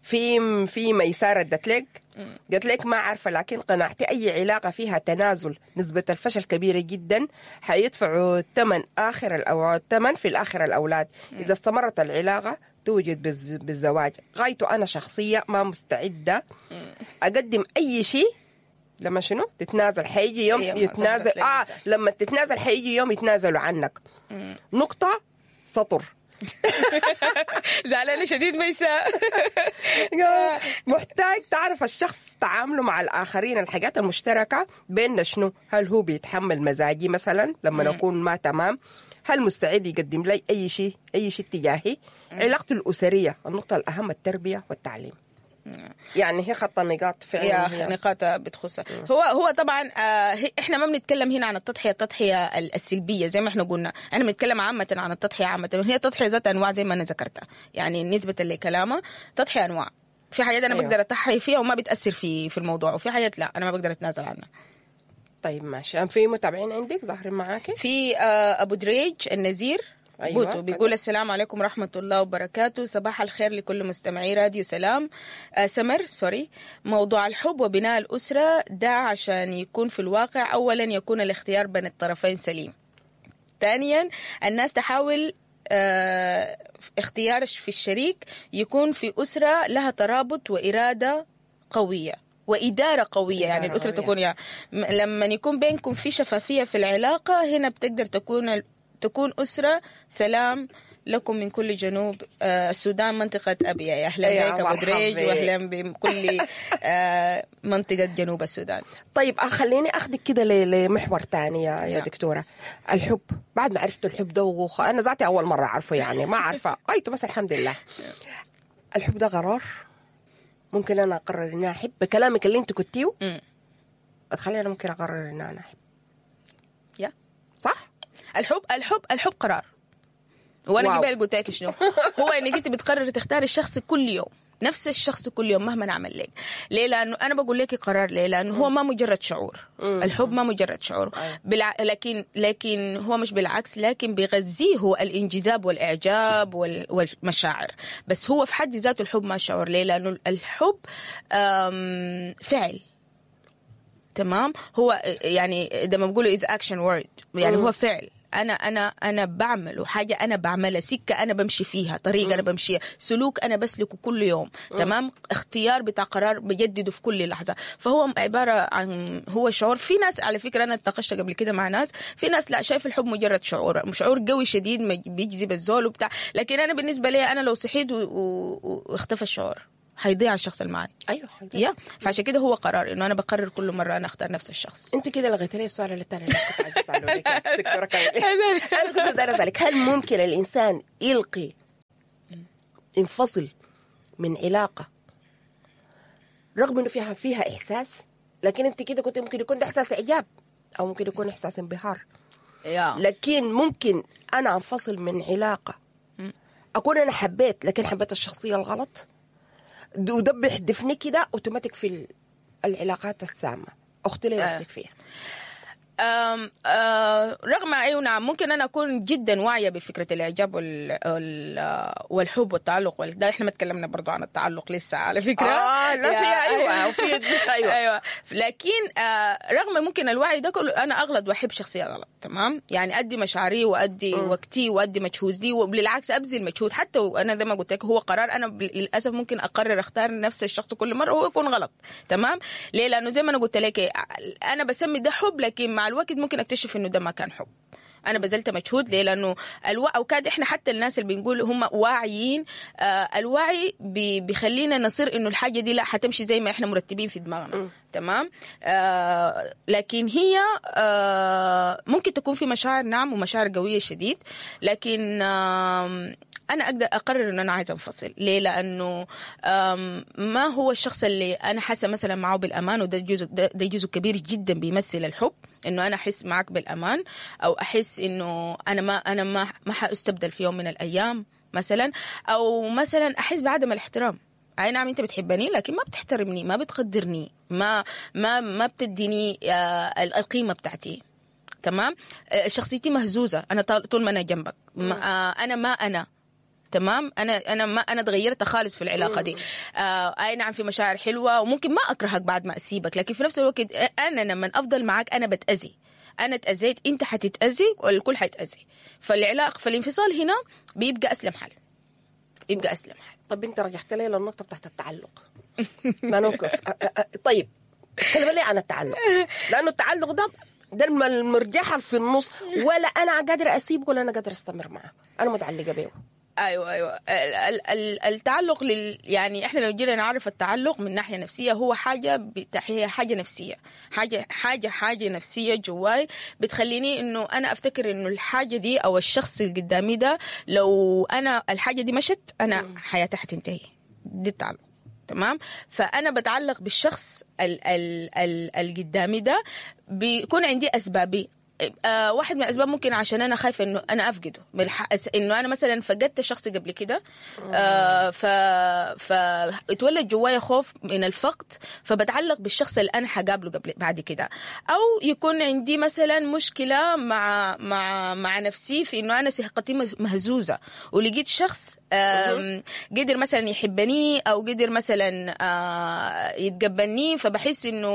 في ميساء ردت لك، قالت لك ما عارفه، لكن قناعتي اي علاقة فيها تنازل نسبه الفشل كبيرة جدا، حيدفعوا الثمن اخر الثمن في الاخر الاولاد. اذا استمرت العلاقة توجد بالزواج. غايته انا شخصية ما مستعدة اقدم اي شيء. لما شنو تتنازل حيجي يوم يتنازل. لما تتنازل حيجي يوم يتنازلوا عنك. نقطة سطر.
زعلانة شديد ميساء.
محتاج تعرف الشخص تعامله مع الآخرين، الحاجات المشتركة بيننا شنو؟ هل هو بيتحمل مزاجي مثلا لما نكون ما تمام؟ هل مستعد يقدم لي أي شيء، أي شيء تجاهي؟ علاقته الأسرية، النقطة الأهم التربية والتعليم. يعني هي خط النقاط فعلا،
يا نقاط بتخصها. هو طبعا احنا ما بنتكلم هنا عن التضحية السلبية زي ما احنا قلنا، احنا بنتكلم عامة عن التضحية عامة. هي التضحية ذات انواع زي ما انا ذكرتها، يعني نسبه لكلامه تضحية انواع. في حاجات انا بقدر اتضحي فيها وما بتاثر في الموضوع، وفي حاجات لا انا ما بقدر اتنازل عنها.
طيب ماشي. في متابعين عندك ظاهرين معاكي؟
في ابو دريج النزير، أيوة. بوتو بيقول السلام عليكم ورحمة الله وبركاته، صباح الخير لكل مستمعي راديو سلام. سمر sorry. موضوع الحب وبناء الأسرة ده عشان يكون في الواقع، أولا يكون الاختيار بين الطرفين سليم، ثانيا الناس تحاول اختيار في الشريك يكون في أسرة لها ترابط وإرادة قوية وإدارة قوية، يعني الأسرة تكون يعني لما يكون بينكم في شفافية في العلاقة، هنا بتقدر تكون أسرة. سلام لكم من كل جنوب السودان، منطقة أبيا. يا أهلا بك أبو دريج، وأهلا بكل منطقة جنوب السودان.
طيب خليني أخذك كده لمحور تاني يا دكتورة. الحب بعد ما عرفت الحب ده، أنا ذاتي أول مرة أعرفه، يعني ما عارفة أيته، بس الحمد لله. الحب ده قرار، ممكن أنا أقرر إن أنا أحب بكلامك اللي أنت كنتيه، أتخلي أنا ممكن أقرر إن أنا أحب.
يا
صح؟
الحب الحب الحب قرار. وانا قبل قلت لك شنو هو، انك انت بتقرر تختار الشخص كل يوم، نفس الشخص كل يوم مهما نعمل لك. ليه؟ لانه انا بقول لك قرار. ليه؟ لانه هو ما مجرد شعور. الحب ما مجرد شعور، لكن هو مش بالعكس، لكن بيغذيه الانجذاب والاعجاب والمشاعر، بس هو في حد ذاته الحب ما شعور. ليه؟ لانه الحب فعل. تمام؟ هو يعني ده ما بقوله is action word، يعني هو فعل. انا انا انا بعمل حاجة، انا بعملها، سكة انا بمشي فيها، طريقه انا بمشيها، سلوك انا بسلكه كل يوم. تمام؟ اختيار بتاع قرار بجدده في كل لحظة. فهو عبارة عن هو شعور. في ناس على فكرة انا اتناقشت قبل كده مع ناس، في ناس لا شايف الحب مجرد شعور، شعور قوي شديد بيجذب الزول وبتاع، لكن انا بالنسبة لي انا لو صحيت واختفى الشعور هيضيع الشخص اللي معي.
ايوه
يا فعشان كده هو قرار انه انا بقرر كل مرة انا اختار نفس الشخص.
انت كده لغيت لي السؤال اللي الثاني اللي كنت عايزه اساله لك يا دكتورة كامل. انا كنت دايرة اسالك هل ممكن الانسان يلقي ينفصل من علاقة رغم انه فيها احساس، لكن انت كده كنت ممكن يكون ده احساس اعجاب او ممكن يكون احساس انبهار، لكن ممكن انا انفصل من علاقة اكون انا حبيت، لكن حبيت الشخصية الغلط، وده بيحدفني كده اوتوماتيك في العلاقات السامة، اختي لي وقتك فيها.
أم آه رغم ايوه نعم، ممكن انا اكون جدا واعية بفكره الاعجاب والحب والتعلق ده احنا ما تكلمنا برضو عن التعلق لسه على فكرة.
لا في ايوه وفي ايوه
ايوه، لكن رغم ممكن الوعي ده كله انا اغلط واحب شخصية غلط، تمام؟ يعني ادي مشاعري وادي وقتي وادي مجهودي، وبالعكس ابذل مجهود حتى وانا زي ما قلت لك هو قرار، انا للاسف ممكن اقرر اختار نفس الشخص كل مرة وهو يكون غلط، تمام؟ ليه؟ لانه زي ما انا قلت لك انا بسمي ده حب، لكن مع الوقت ممكن اكتشف انه ده ما كان حب، انا بذلت مجهود. ليه؟ لانه اوكاد احنا حتى الناس اللي بنقول هم واعيين، الوعي بيخلينا نصير انه الحاجة دي لا حتمشي زي ما احنا مرتبين في دماغنا، تمام؟ لكن هي ممكن تكون في مشاعر، نعم، ومشاعر قوية شديد، لكن انا اقدر اقرر ان انا عايزه انفصل. ليه؟ لانه ما هو الشخص اللي انا حاسه مثلا معه بالامان، وده جزء ده جزء كبير جدا بيمثل الحب، انه انا احس معك بالامان، او احس انه انا ما حاستبدل في يوم من الايام مثلا، او مثلا احس بعدم الاحترام. اي نعم انت بتحبني لكن ما بتحترمني، ما بتقدرني، ما ما ما بتديني القيمة بتاعتي، تمام؟ شخصيتي مهزوزة انا طول ما انا جنبك، انا ما انا تمام، انا ما انا اتغيرت خالص في العلاقة دي. اي نعم في مشاعر حلوة وممكن ما اكرهك بعد ما اسيبك، لكن في نفس الوقت انا لما افضل معاك انا بتاذي، انا اتاذيت، انت حتتاذي، والكل حيتاذي. فالعلاقه فالانفصال هنا بيبقى اسلم حل، يبقى اسلم حل.
طب انت رجعت لي للنقطة بتاعت التعلق، ما نوقف. طيب تكلم لي عن التعلق، لانه التعلق ده المرجحة في النص، ولا انا قادرة اسيبه ولا انا قادرة استمر معه، انا متعلقه به.
ايوه التعلق يعني احنا لو جينا نعرف التعلق من ناحية نفسية، هو حاجة هي حاجة نفسية، حاجة حاجة حاجة نفسية جواي بتخليني انه انا افتكر انه الحاجة دي او الشخص اللي قدامي ده لو انا الحاجة دي مشت انا حياتي حتنتهي. دي التعلق، تمام؟ فانا بتعلق بالشخص اللي قدامي ده، بيكون عندي اسبابي. واحد من الاسباب ممكن عشان انا خايفة انه انا افقده، انه انا مثلا فقدت شخص قبل كده، فاتولد جوايا خوف من الفقد، فبتعلق بالشخص اللي انا حقابله قبل بعد كده. او يكون عندي مثلا مشكلة مع مع مع نفسي في انه انا ثقتي مهزوزة، ولقيت شخص قدر مثلا يحبني او قدر مثلا يتقبلني، فبحس انه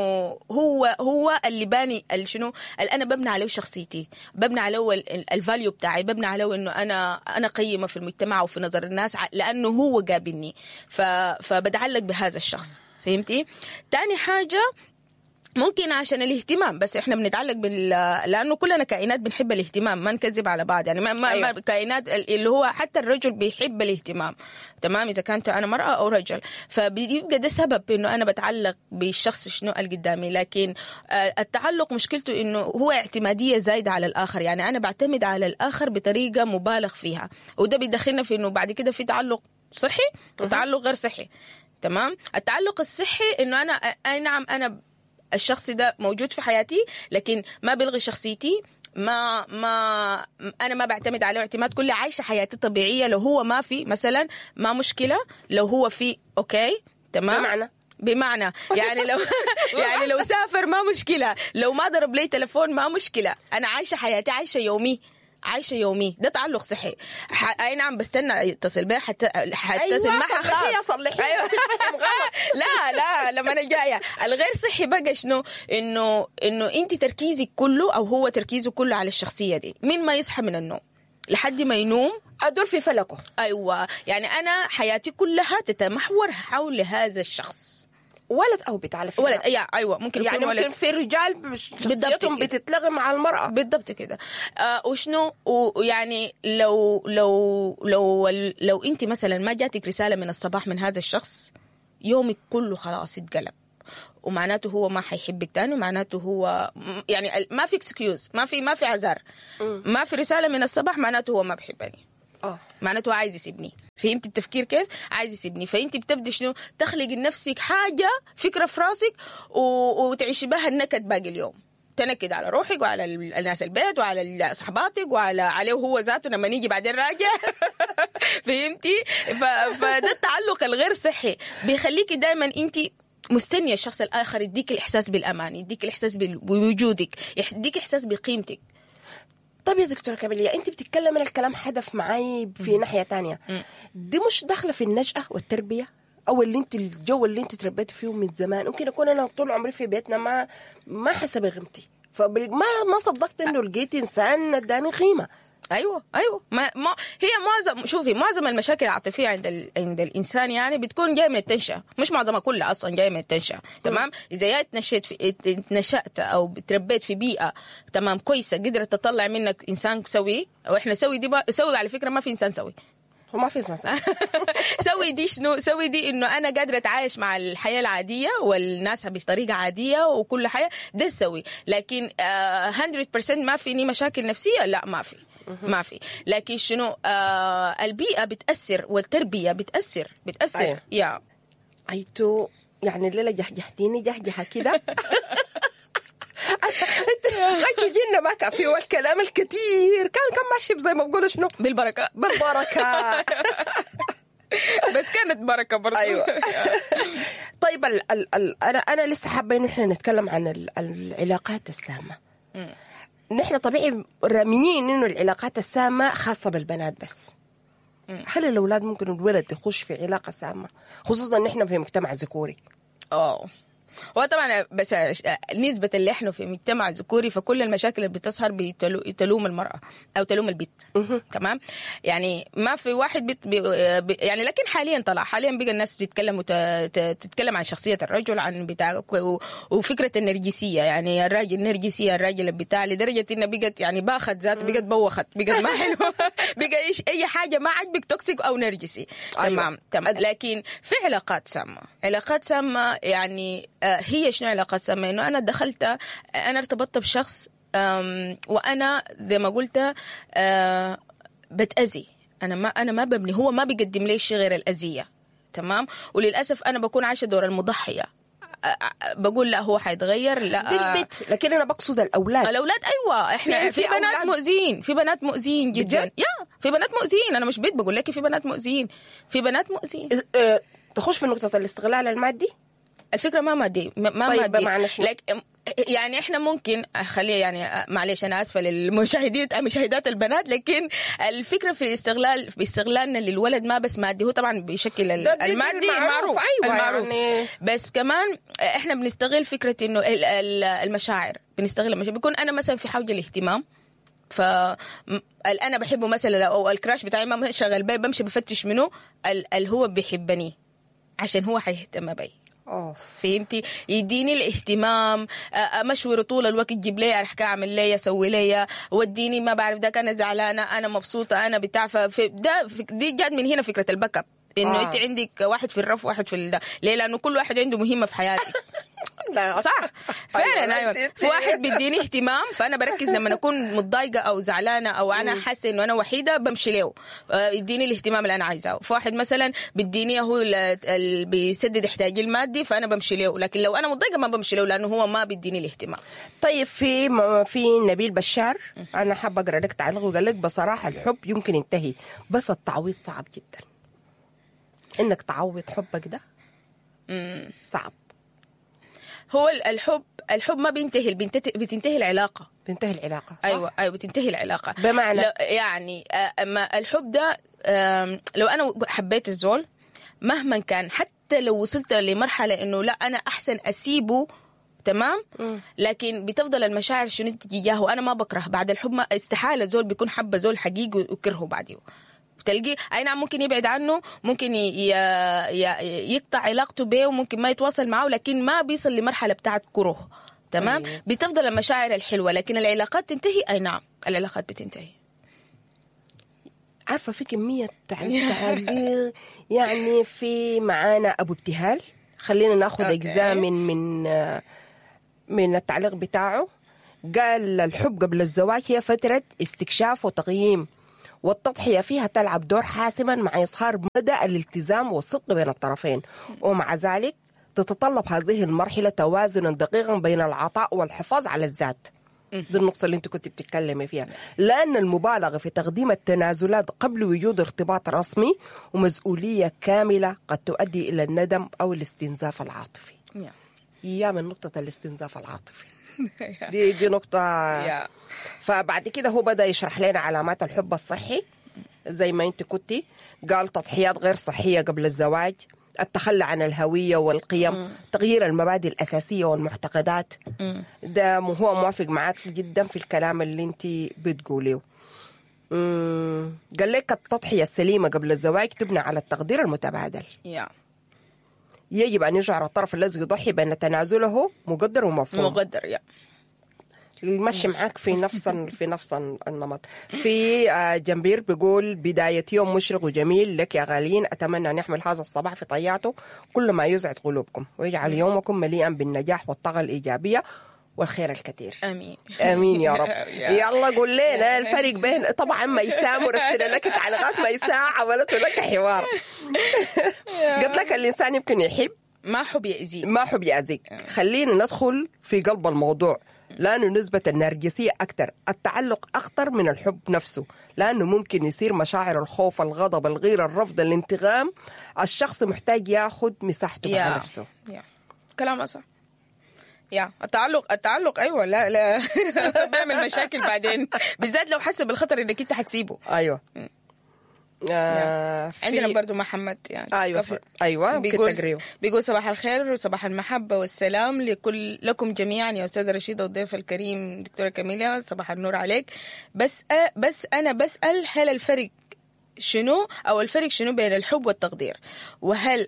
هو اللي باني شنو اللي انا ببني عليه شخصيتي، ببني عليه ال value بتاعي، ببني عليه انه انا قيمة في المجتمع وفي نظر الناس لانه هو قابلني، فبتعلق بهذا الشخص. فهمتي؟ تاني حاجة ممكن عشان الاهتمام، بس احنا بنتعلق لانه كلنا كائنات بنحب الاهتمام، ما نكذب على بعض يعني، ما أيوة. ما كائنات اللي هو حتى الرجل بيحب الاهتمام، تمام؟ اذا كانت انا مراة او رجل، فبيبقى ده سبب انه انا بتعلق بالشخص شنو اللي قدامي. لكن التعلق مشكلته انه هو اعتماديه زايدة على الاخر، يعني انا بعتمد على الاخر بطريقة مبالغ فيها، وده بيدخلنا في انه بعد كده في تعلق صحي وتعلق غير صحي، تمام؟ التعلق الصحي انه انا اي نعم انا الشخص ده موجود في حياتي، لكن ما بلغي شخصيتي، ما ما انا ما بعتمد عليه اعتماد كلي، عايشه حياتي طبيعية. لو هو ما في مثلا ما مشكلة، لو هو في okay تمام. بمعنى يعني لو يعني لو سافر ما مشكلة، لو ما ضرب لي تليفون ما مشكلة، انا عايشه حياتي، عايشه يومي، عايشه يومي. ده تعلق صحي. اي نعم بستنى يتصل بي حتى حتصل.
أيوة، ما حخاف. صلحي.
أيوة. لا لا لما انا جاية الغير صحي بقى شنو؟ انه انت تركيزك كله او هو تركيزه كله على الشخصية دي، من ما يصحى من النوم لحد ما ينوم
ادور في فلكه.
ايوه، يعني انا حياتي كلها تتمحور حول هذا الشخص،
ولد او بنت على فكرة.
ولد، ايوه ممكن
يعني
يكون ولد.
ممكن في رجال شخصيتهم بتتلغي مع المراة.
بالضبط كده. وشنو ويعني لو لو لو لو انت مثلا ما جاتك رسالة من الصباح من هذا الشخص، يومك كله خلاص اتقلب، ومعناته هو ما حيحبك تاني، ومعناته هو يعني ما في excuse، ما في عذر، ما في رسالة من الصباح معناته هو ما بحبني. معناته عايز يسيبني. فهمت التفكير كيف؟ عايز يسيبني. فانت بتبدي شنو؟ تخلق لنفسك حاجة، فكرة في راسك، وتعيشي بها النكد باقي اليوم. تنكد على روحك وعلى الناس البيت وعلى صحباتك وعلى عليه هو ذاته لما نيجي بعدين راجع. فهمتي؟ فده التعلق الغير صحي بيخليكي دايما انت مستنيه الشخص الاخر يديك الاحساس بالامان، يديك الاحساس بوجودك، يديك احساس بقيمتك.
طب يا دكتورة كاميليا، انت بتتكلم من الكلام حدف معاي في ناحية تانية، دي مش داخله في النشأة والتربية او اللي انت الجو اللي انت تربيتي فيه من زمان؟ ممكن اكون انا طول عمري في بيتنا ما حاسه بقيمتي، فما ما صدقت انه لقيت انسان اداني قيمة.
ايوه ما ما هي معظم، شوفي معظم المشاكل العاطفية عند الانسان يعني بتكون جاية من التنشئه، مش معظمها، كلها اصلا جاية من التنشئه. تمام؟ اذا يا اتنشأت او تربيت في بيئة تمام كويسة قدرت تطلع منك انسان سوي، واحنا سوي دي سوي على فكرة ما في انسان سوي،
هو ما في انسان سوي.
سوي دي شنو؟ سوي دي انه انا قادرة اتعايش مع الحياة العادية والناس بطريقة عادية وكل حاجة، ده سوي. لكن 100% ما فيني مشاكل نفسية، لا ما في، ما في. لكن شنو البيئة بتأثر والتربية بتأثر. أيوة. يا
ايتو يعني الليلة جهجهتيني جهجهة كده. انت جينا ما كان في والكلام الكثير كان ماشي زي ما بقولوا شنو،
بالبركة
بالبركة.
بس كانت بركة برضه.
ايوه. طيب ال ال ال انا لسه حابة انه احنا نتكلم عن العلاقات السامة. نحن طبيعي راميين انه العلاقات السامة خاصة بالبنات بس. هل الاولاد ممكن الولد يخش في علاقة سامة، خصوصا نحن في مجتمع ذكوري؟
هو طبعا بس نسبة اللي احنا في مجتمع ذكوري، فكل المشاكل اللي بتظهر بتلوم المرأة او تلوم البيت. تمام؟ يعني ما في واحد بيت بي يعني، لكن حاليا طلع، حاليا بقى الناس تتكلم تتكلم عن شخصية الرجل، عن بتاع وفكرة النرجسية، يعني الراجل النرجسية، الراجل بتاع، لدرجة انه بقت يعني باخت ذات، بقت بوخت، بقت ما حلوة. بقى ايش اي حاجة ما عجبك toxic او نرجسي. تمام. تمام. لكن في علاقات سامة، علاقات سامة يعني هي شنو علاقات سامة؟ إنه أنا دخلت، أنا ارتبطت بشخص، وأنا زي ما قلت بتأذي، أنا ما ببني، هو ما بيقدم لي شيء غير الأذية. تمام؟ وللأسف أنا بكون عايشة دور المضحية، بقول لا هو حيتغير، لا
دي البيت. لكن أنا بقصد الأولاد.
الأولاد أيوة، إحنا في بنات مؤذين، في بنات مؤذين جدا. يا في بنات مؤذين، أنا مش بيت بقول لك في بنات مؤذين، في بنات مؤذين.
تخش في نقطة الاستغلال المادي؟
الفكرة ما مادي، ما
طيب
مادي.
بمعنى شنو؟
يعني احنا ممكن خليه يعني معلش انا اسفه للمشاهدين مشاهدات البنات، لكن الفكرة في الاستغلال، في استغلالنا للولد ما بس مادي، هو طبعا بشكل المادي معروف.
أيوة
المعروف
يعني.
بس كمان احنا بنستغل فكرة انه المشاعر، بنستغل المشاعر. بيكون انا مثلا في حوجه الاهتمام، ف انا بحبه مثلا، او ال crush بتاعي ما شغال بي، بمشي بفتش منه اللي هو بيحبني عشان هو حيهتم بي. فهمتي؟ يديني الاهتمام، مشور طول الوقت، جيب لي ارحكا، اعمل لي، اسوي لي، وديني ما بعرف ده، انا زعلانة، انا مبسوطة، انا بتاع. ده دي جات من هنا فكرة ال backup، انه انت عندك واحد في الرف واحد في ده. ليه؟ لانه كل واحد عنده مهمة في حياتك.
لا
صح فعلا. ايوه، في واحد بيديني اهتمام، فانا بركز لما اكون متضايقة او زعلانة او انا حاسه انه انا وحيده، بمشي له يديني الاهتمام اللي انا عايزاه. في واحد مثلا بيديني هو اللي بيسدد احتياجي المادي، فانا بمشي له. لكن لو انا متضايقة ما بمشي له، لانه هو ما بيديني الاهتمام.
طيب في نبيل بشار، انا حابة اقرا لك تعليق، وقال لك بصراحة الحب يمكن ينتهي، بس التعويض صعب جدا. انك تعوض حبك ده صعب.
هو الحب ما بينتهي، بتنتهي العلاقة.
بتنتهي العلاقة، صح؟
ايوه بتنتهي العلاقة.
بمعنى
يعني ما الحب ده، لو انا حبيت الزول مهما كان، حتى لو وصلت لمرحلة انه لا انا احسن اسيبه، تمام؟ لكن بتفضل المشاعر شنو تجاهه. انا ما بكره بعد الحب، ما استحالة زول بيكون حب زول حقيقي وكرهه بعديه. تلقي اي نعم ممكن يبعد عنه، ممكن يقطع علاقته به، وممكن ما يتواصل معه، لكن ما بيصل لمرحلة بتاعت كره. تمام؟ بتفضل المشاعر الحلوة، لكن العلاقات تنتهي. اي نعم العلاقات بتنتهي.
عارفه في كمية تعليق يعني. في معانا ابو ابتهال، خلينا ناخذ اجزاء من من التعليق بتاعه. قال الحب قبل الزواج هي فترة استكشاف وتقييم، والتضحية فيها تلعب دور حاسما مع إظهار مدى الالتزام والصدق بين الطرفين، ومع ذلك تتطلب هذه المرحلة توازنا دقيقا بين العطاء والحفاظ على الذات. دي النقطة اللي انت كنت بتتكلمي فيها، لأن المبالغة في تقديم التنازلات قبل وجود ارتباط رسمي ومسؤولية كاملة قد تؤدي إلى الندم أو الاستنزاف العاطفي.
يا.
يا من نقطة الاستنزاف العاطفي. دي نقطة.
يا.
فبعد كده هو بدأ يشرح لنا علامات الحب الصحي زي ما انت كنتي، قال تضحيات غير صحية قبل الزواج، التخلي عن الهوية والقيم، تغيير المبادئ الأساسية والمعتقدات. ده هو موافق معاك جدا في الكلام اللي انت بتقوليه. قال لك التضحية السليمة قبل الزواج تبنى على التقدير المتبادل.
يا.
يجب أن يشعر الطرف الذي يضحي بأن تنازله مقدر ومفهوم.
مقدر. يا.
يمشي معاك في نفس النمط. في جنبير بيقول بداية يوم مشرق وجميل لك يا غاليين، أتمنى أن يحمل هذا الصباح في طياته كل ما يسعد قلوبكم ويجعل يومكم مليئا بالنجاح والطاقة الإيجابية والخير الكثير.
امين
امين يا رب. يلا قول لنا الفرق بين، طبعا ميساء مرسله لك تعليقات، ميساء عملت لك حوار. قلت لك الانسان يمكن يحب
ما حب يأذيك،
ما حب يأذيك. خلينا ندخل في قلب الموضوع، لأنه نسبة النرجسية أكثر، التعلق أخطر من الحب نفسه، لأنه ممكن يصير مشاعر الخوف، الغضب، الغيرة، الرفض، الانتقام. الشخص محتاج ياخد مساحته مع نفسه.
كلام صح. يا التعلق ايوه، لا لا بيعمل مشاكل بعدين، بالذات لو حس بالخطر انك انت حتسيبه.
ايوه.
عندنا برضو محمد يعني.
ايوه ايوه
بيقول صباح الخير وصباح المحبة والسلام لكل لكم جميعا يا استاذه رشيده والضيف الكريم دكتورة كاميليا، صباح النور عليك. بس انا بسال، هل الفرق شنو او الفرق شنو بين الحب والتقدير؟ وهل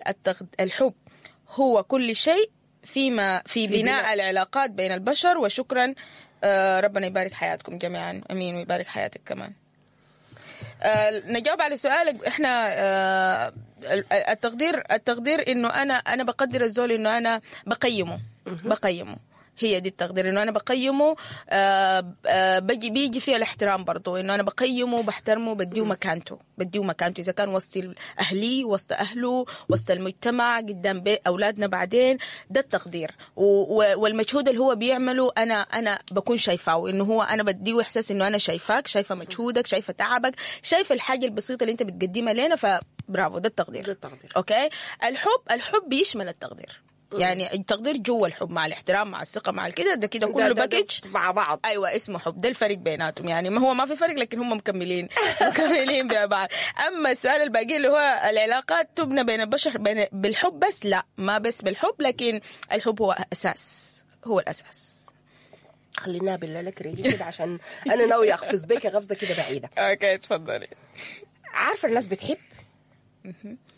الحب هو كل شيء فيما في بناء العلاقات بين البشر؟ وشكرا، ربنا يبارك حياتكم جميعا. امين ويبارك حياتك كمان. نجاوب على سؤالك. احنا التقدير انه انا بقدر الزول، انه انا بقيمة هي دي التقدير، انه انا بقيمة. بيجي فيها الاحترام برضو، انه انا بقيمة، بحترمه، بديه مكانته اذا كان وسط اهلي، وسط اهله، وسط المجتمع، قدام اولادنا بعدين. ده التقدير. والمجهود اللي هو بيعمله انا بكون شايفاه، انه هو انا بديه احساس انه انا شايفاك، شايفه مجهودك، شايفه تعبك، شايفه الحاجة البسيطة اللي انت بتقدمها لنا، فبرافو، ده التقدير.
ده التقدير.
okay. الحب بيشمل التقدير، يعني التقدير جوا الحب مع الاحترام مع الثقة مع الكده، ده كده كله package
مع بعض.
ايوه اسمه حب. ده الفرق بيناتهم، يعني ما هو ما في فرق، لكن هم مكملين ببعض. اما السؤال الباقي اللي هو العلاقات تبنى بين البشر بالحب بس، لا ما بس بالحب، لكن الحب هو اساس، هو الاساس.
خلينا بالله لك ريجي كده عشان انا ناوية اقفز بيك غفزه كده بعيدة.
okay تفضلي.
عارفه الناس بتحب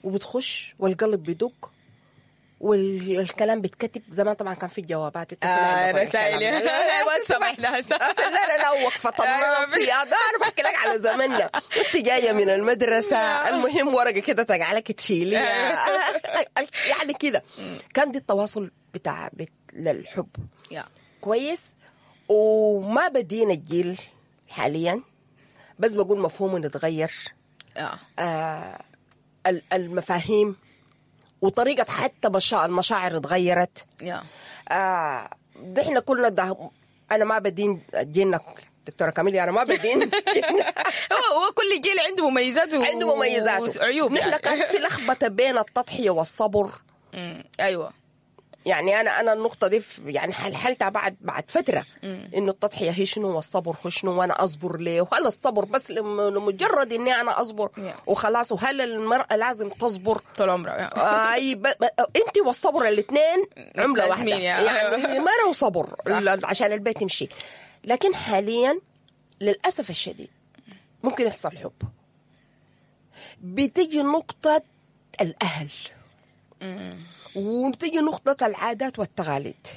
وبتخش والقلب بيدق والكلام بيتكتب. زمان طبعا كان في الجوابات،
رسائل واتساب.
لا لا لا، وقفه الناصية ده انا بحكي لك على زماننا، انت جاية من المدرسة، المهم ورقة كده تجعلك تشيليها يعني كده. كان دي التواصل بتاع للحب كويس. وما بدينا الجيل حاليا، بس بقول مفهومه نتغير، المفاهيم وطريقة حتى المشاعر اتغيرت. نحن كلنا ده، أنا ما بدين جيلنا دكتورة كاميليا، أنا ما بدين جيلنا.
هو كل جيل عنده مميزاته،
عنده مميزاته
وعيوب.
نحن يعني كان في لخبطة بين التضحية والصبر.
أيوة.
يعني أنا النقطة دي يعني حلحلتها بعد فترة، إنه التضحية هي شنو والصبر هو شنو، وأنا أصبر ليه؟ وهل الصبر بس لمجرد إني أنا أصبر وخلاص؟ وهل المرأة لازم تصبر
طول عمرها؟
أي أنت والصبر الاثنين عملة واحدة، يعني مرة وصبر عشان البيت يمشي. لكن حاليا للأسف الشديد ممكن يحصل حب، بتيجي نقطة الأهل، وتجي نقطة العادات والتقاليد،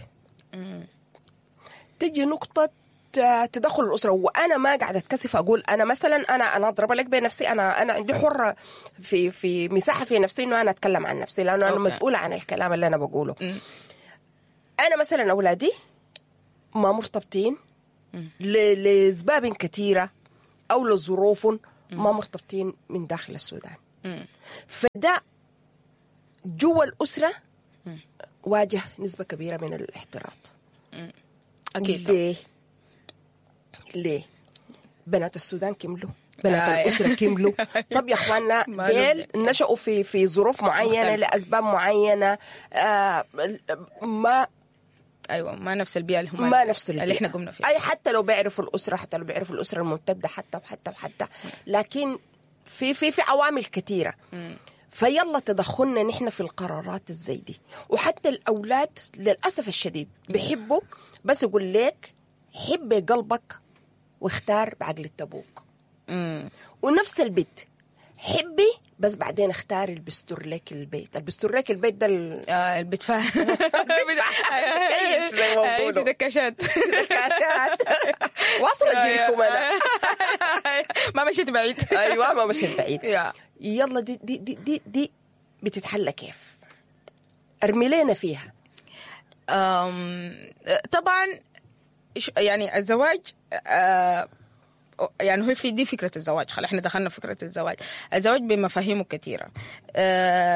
تجي نقطة تدخل الأسرة. وأنا ما قاعدة أتكسف أقول أنا مثلا أنا أضرب لك بنفسي، أنا عندي حرة في مساحة في نفسي إنه أنا أتكلم عن نفسي، لأنه أنا مسؤولة عن الكلام اللي أنا بقوله. أنا مثلا أولادي ما مرتبطين لأسباب كثيرة أو لظروف، ما مرتبطين من داخل السودان. فده جوا الأسرة واجه نسبة كبيرة من الاحتراط.
أكيد.
ليه؟ ليه؟ بنات السودان كملوا. بنات
آه.
الاسرة كملوا. طب يا اخواننا
ماله
ديل نشأوا في ظروف معينة
مختلفة.
لاسباب معينة، ما
ايوه، ما نفس البيئة اللي هم
ما نفس البيئة
اللي احنا قمنا فيها.
اي حتى لو بيعرفوا الاسرة، حتى لو بيعرفوا الاسرة الممتدة، حتى وحتى وحتى، لكن في في في عوامل كثيرة. فيلا تدخلنا نحن في القرارات الزي دي. وحتى الاولاد للاسف الشديد بيحبوا، بس يقول لك حب قلبك واختار بعقل ابوك. ونفس البيت حبي، بس بعدين اختاري اللي بيستر لك البيت، اللي بيستر لك البيت ده
البتفا
كيش زي ما
انت
بيقولوا.
دكاشات.
كاشات واصله جيلكم انا.
ما مشيت بعيد.
ايوه، ما مشيت بعيد.
يا
يلا دي دي دي دي, دي بتتحلى كيف؟ ارمي لنا فيها.
طبعا يعني الزواج، يعني هو في دي فكرة الزواج، خلاص احنا دخلنا في فكرة الزواج. الزواج بمفاهيمه كثيرة.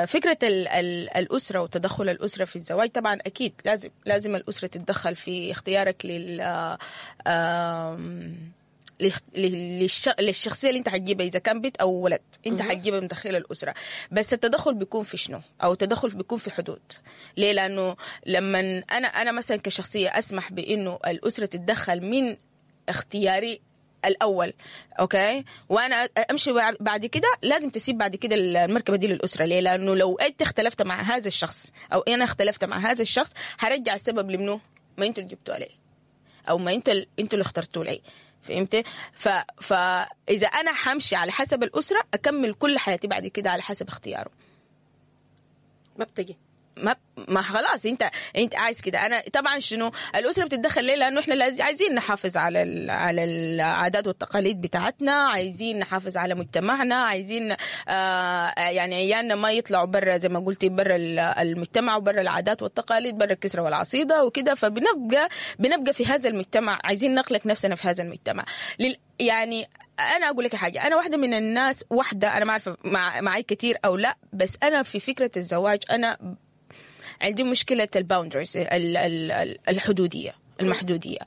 فكرة ال ال الأسرة وتدخل الأسرة في الزواج، طبعا أكيد لازم الأسرة تتدخل في اختيارك لل آم، للشخصية اللي انت حتجيبها، اذا كان بنت او ولد انت حتجيبها من داخل الاسره. بس التدخل بيكون في شنو؟ او التدخل بيكون في حدود. ليه؟ لانه لما انا مثلا كشخصية اسمح بانه الاسرة تتدخل من اختياري الاول، okay، وانا امشي بعد كده لازم تسيب بعد كده المركبة دي للاسره. ليه؟ لانه لو انت اختلفت مع هذا الشخص او انا اختلفت مع هذا الشخص، هرجع السبب لمنه؟ ما انتوا اللي جبتوا عليه، او ما انتوا اللي اخترتوا لي. فهمت؟ فاذا انا حمشي على حسب الاسرة، اكمل كل حياتي بعد كده على حسب اختياره.
ما بتجي.
ما خلاص، انت عايز كده. انا طبعا شنو الاسرة بتتدخل ليه؟ لانه احنا لازم عايزين نحافظ على العادات والتقاليد بتاعتنا، عايزين نحافظ على مجتمعنا، عايزين يعني عيالنا ما يطلعوا برا، زي ما قلتي، برا المجتمع وبرا العادات والتقاليد، برا الكسرة والعصيده وكده. فبنبقى في هذا المجتمع، عايزين نخلق نفسنا في هذا المجتمع. يعني انا اقول لك حاجه، انا واحدة من الناس، واحدة انا ما عارفه معي كثير او لا، بس انا في فكرة الزواج انا عندي مشكلة ال boundaries، الحدوديه، المحدوديه.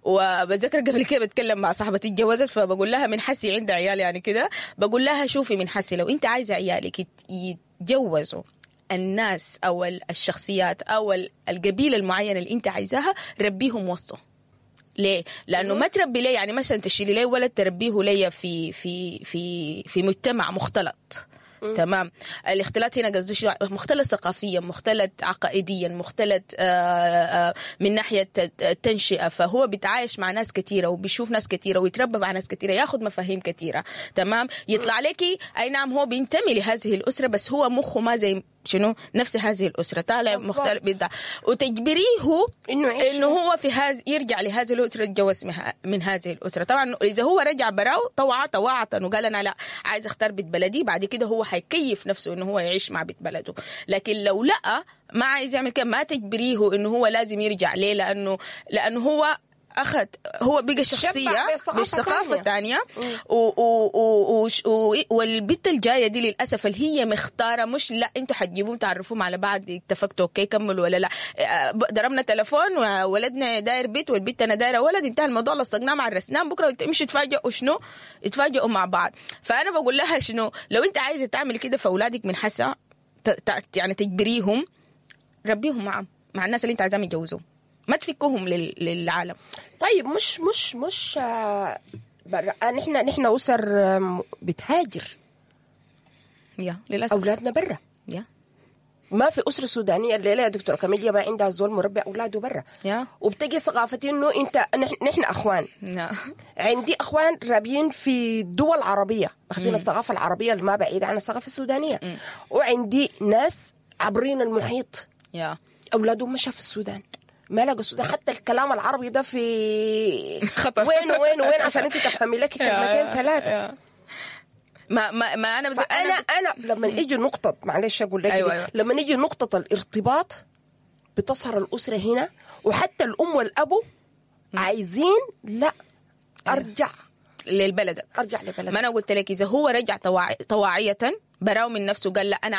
وبتذكر قبل كده بتكلم مع صاحبتي اتجوزت، فبقول لها من حسي عندها عيال يعني كده، بقول لها شوفي من حسي لو انت عايزه عيالك يتجوزوا الناس او الشخصيات او القبيلة المعينة اللي انت عايزاها، ربيهم وسطه. ليه؟ لانه ما تربي ليه، يعني مثلا تشيلي ليه ولد تربيه ليا في مجتمع مختلط. تمام، الاختلاط هنا قصدي شنو؟ مختلط ثقافيا، مختلط عقائديا، مختلط من ناحية التنشئه. فهو بيتعايش مع ناس كثيرة وبيشوف ناس كثيرة ويتربى مع ناس كثيره، ياخذ مفاهيم كثيره. تمام، يطلع لك اي نعم هو بينتمي لهذه الاسرة، بس هو مخه ما زي شنو نفس هذه الاسره، طالع مختلف بتاع. وتجبريه
انه
انه هو في هذا يرجع لهذه الاسرة، يتجوز من هذه الاسره. طبعا اذا هو رجع براو طوعه طواعه وقال انا لا عايز اختار بيت بلدي، بعد كده هو حيكيف نفسه انه هو يعيش مع بيت بلده. لكن لو لا ما عايز يعمل كده، ما تجبريه انه هو لازم يرجع. ليه؟ لانه هو اخذ، هو بقى شخصية بالثقافة الثانية. والبت الجاية دي للاسف اللي هي مختاره، مش لا انتوا حتجيبوهم تعرفوهم على بعض، اتفقتوا okay كملوا ولا لا، ضربنا تليفون وولدنا داير بيت والبت انا دايرة ولد، انتهى الموضوع، لصقناه مع الرسنان، بكره تمشوا تفاجئوا شنو؟ يتفاجئوا مع بعض. فانا بقول لها شنو؟ لو انت عايزه تعمل كده فاولادك من حسا يعني تجبريهم، ربيهم مع الناس اللي انت عايزاهم يتجوزوهم، ما تفكوهم للعالم.
طيب مش نحن اسر بتهاجر
يا للاسف،
اولادنا برا.
يا
ما في اسره سودانيه الليلة يا دكتورة كاميليا ما عندها زول مربي اولاده برا.
يا
وبتجي ثقافتي انه انت نحن اخوان.
يا
عندي اخوان رابيين في دول عربية، ماخذين الثقافة العربية اللي ما بعيدة عن الثقافة السودانية. وعندي ناس عبرين المحيط،
يا
اولادهم مشى في السودان، ما لقوا السودان. حتى الكلام العربي ده في
خطر.
وين وين وين عشان انت تفهمي لك كلمتين ثلاثة.
ما ما ما انا
فانا انا لما يجي نقطة، معلش اقول لك،
أيوة.
لما يجي نقطة الارتباط بتظهر الاسرة هنا، وحتى الام والابو عايزين لا ارجع
للبلد،
ارجع لبلد.
ما انا قلت لك اذا هو رجع طواعيه براو من نفسه قال لا انا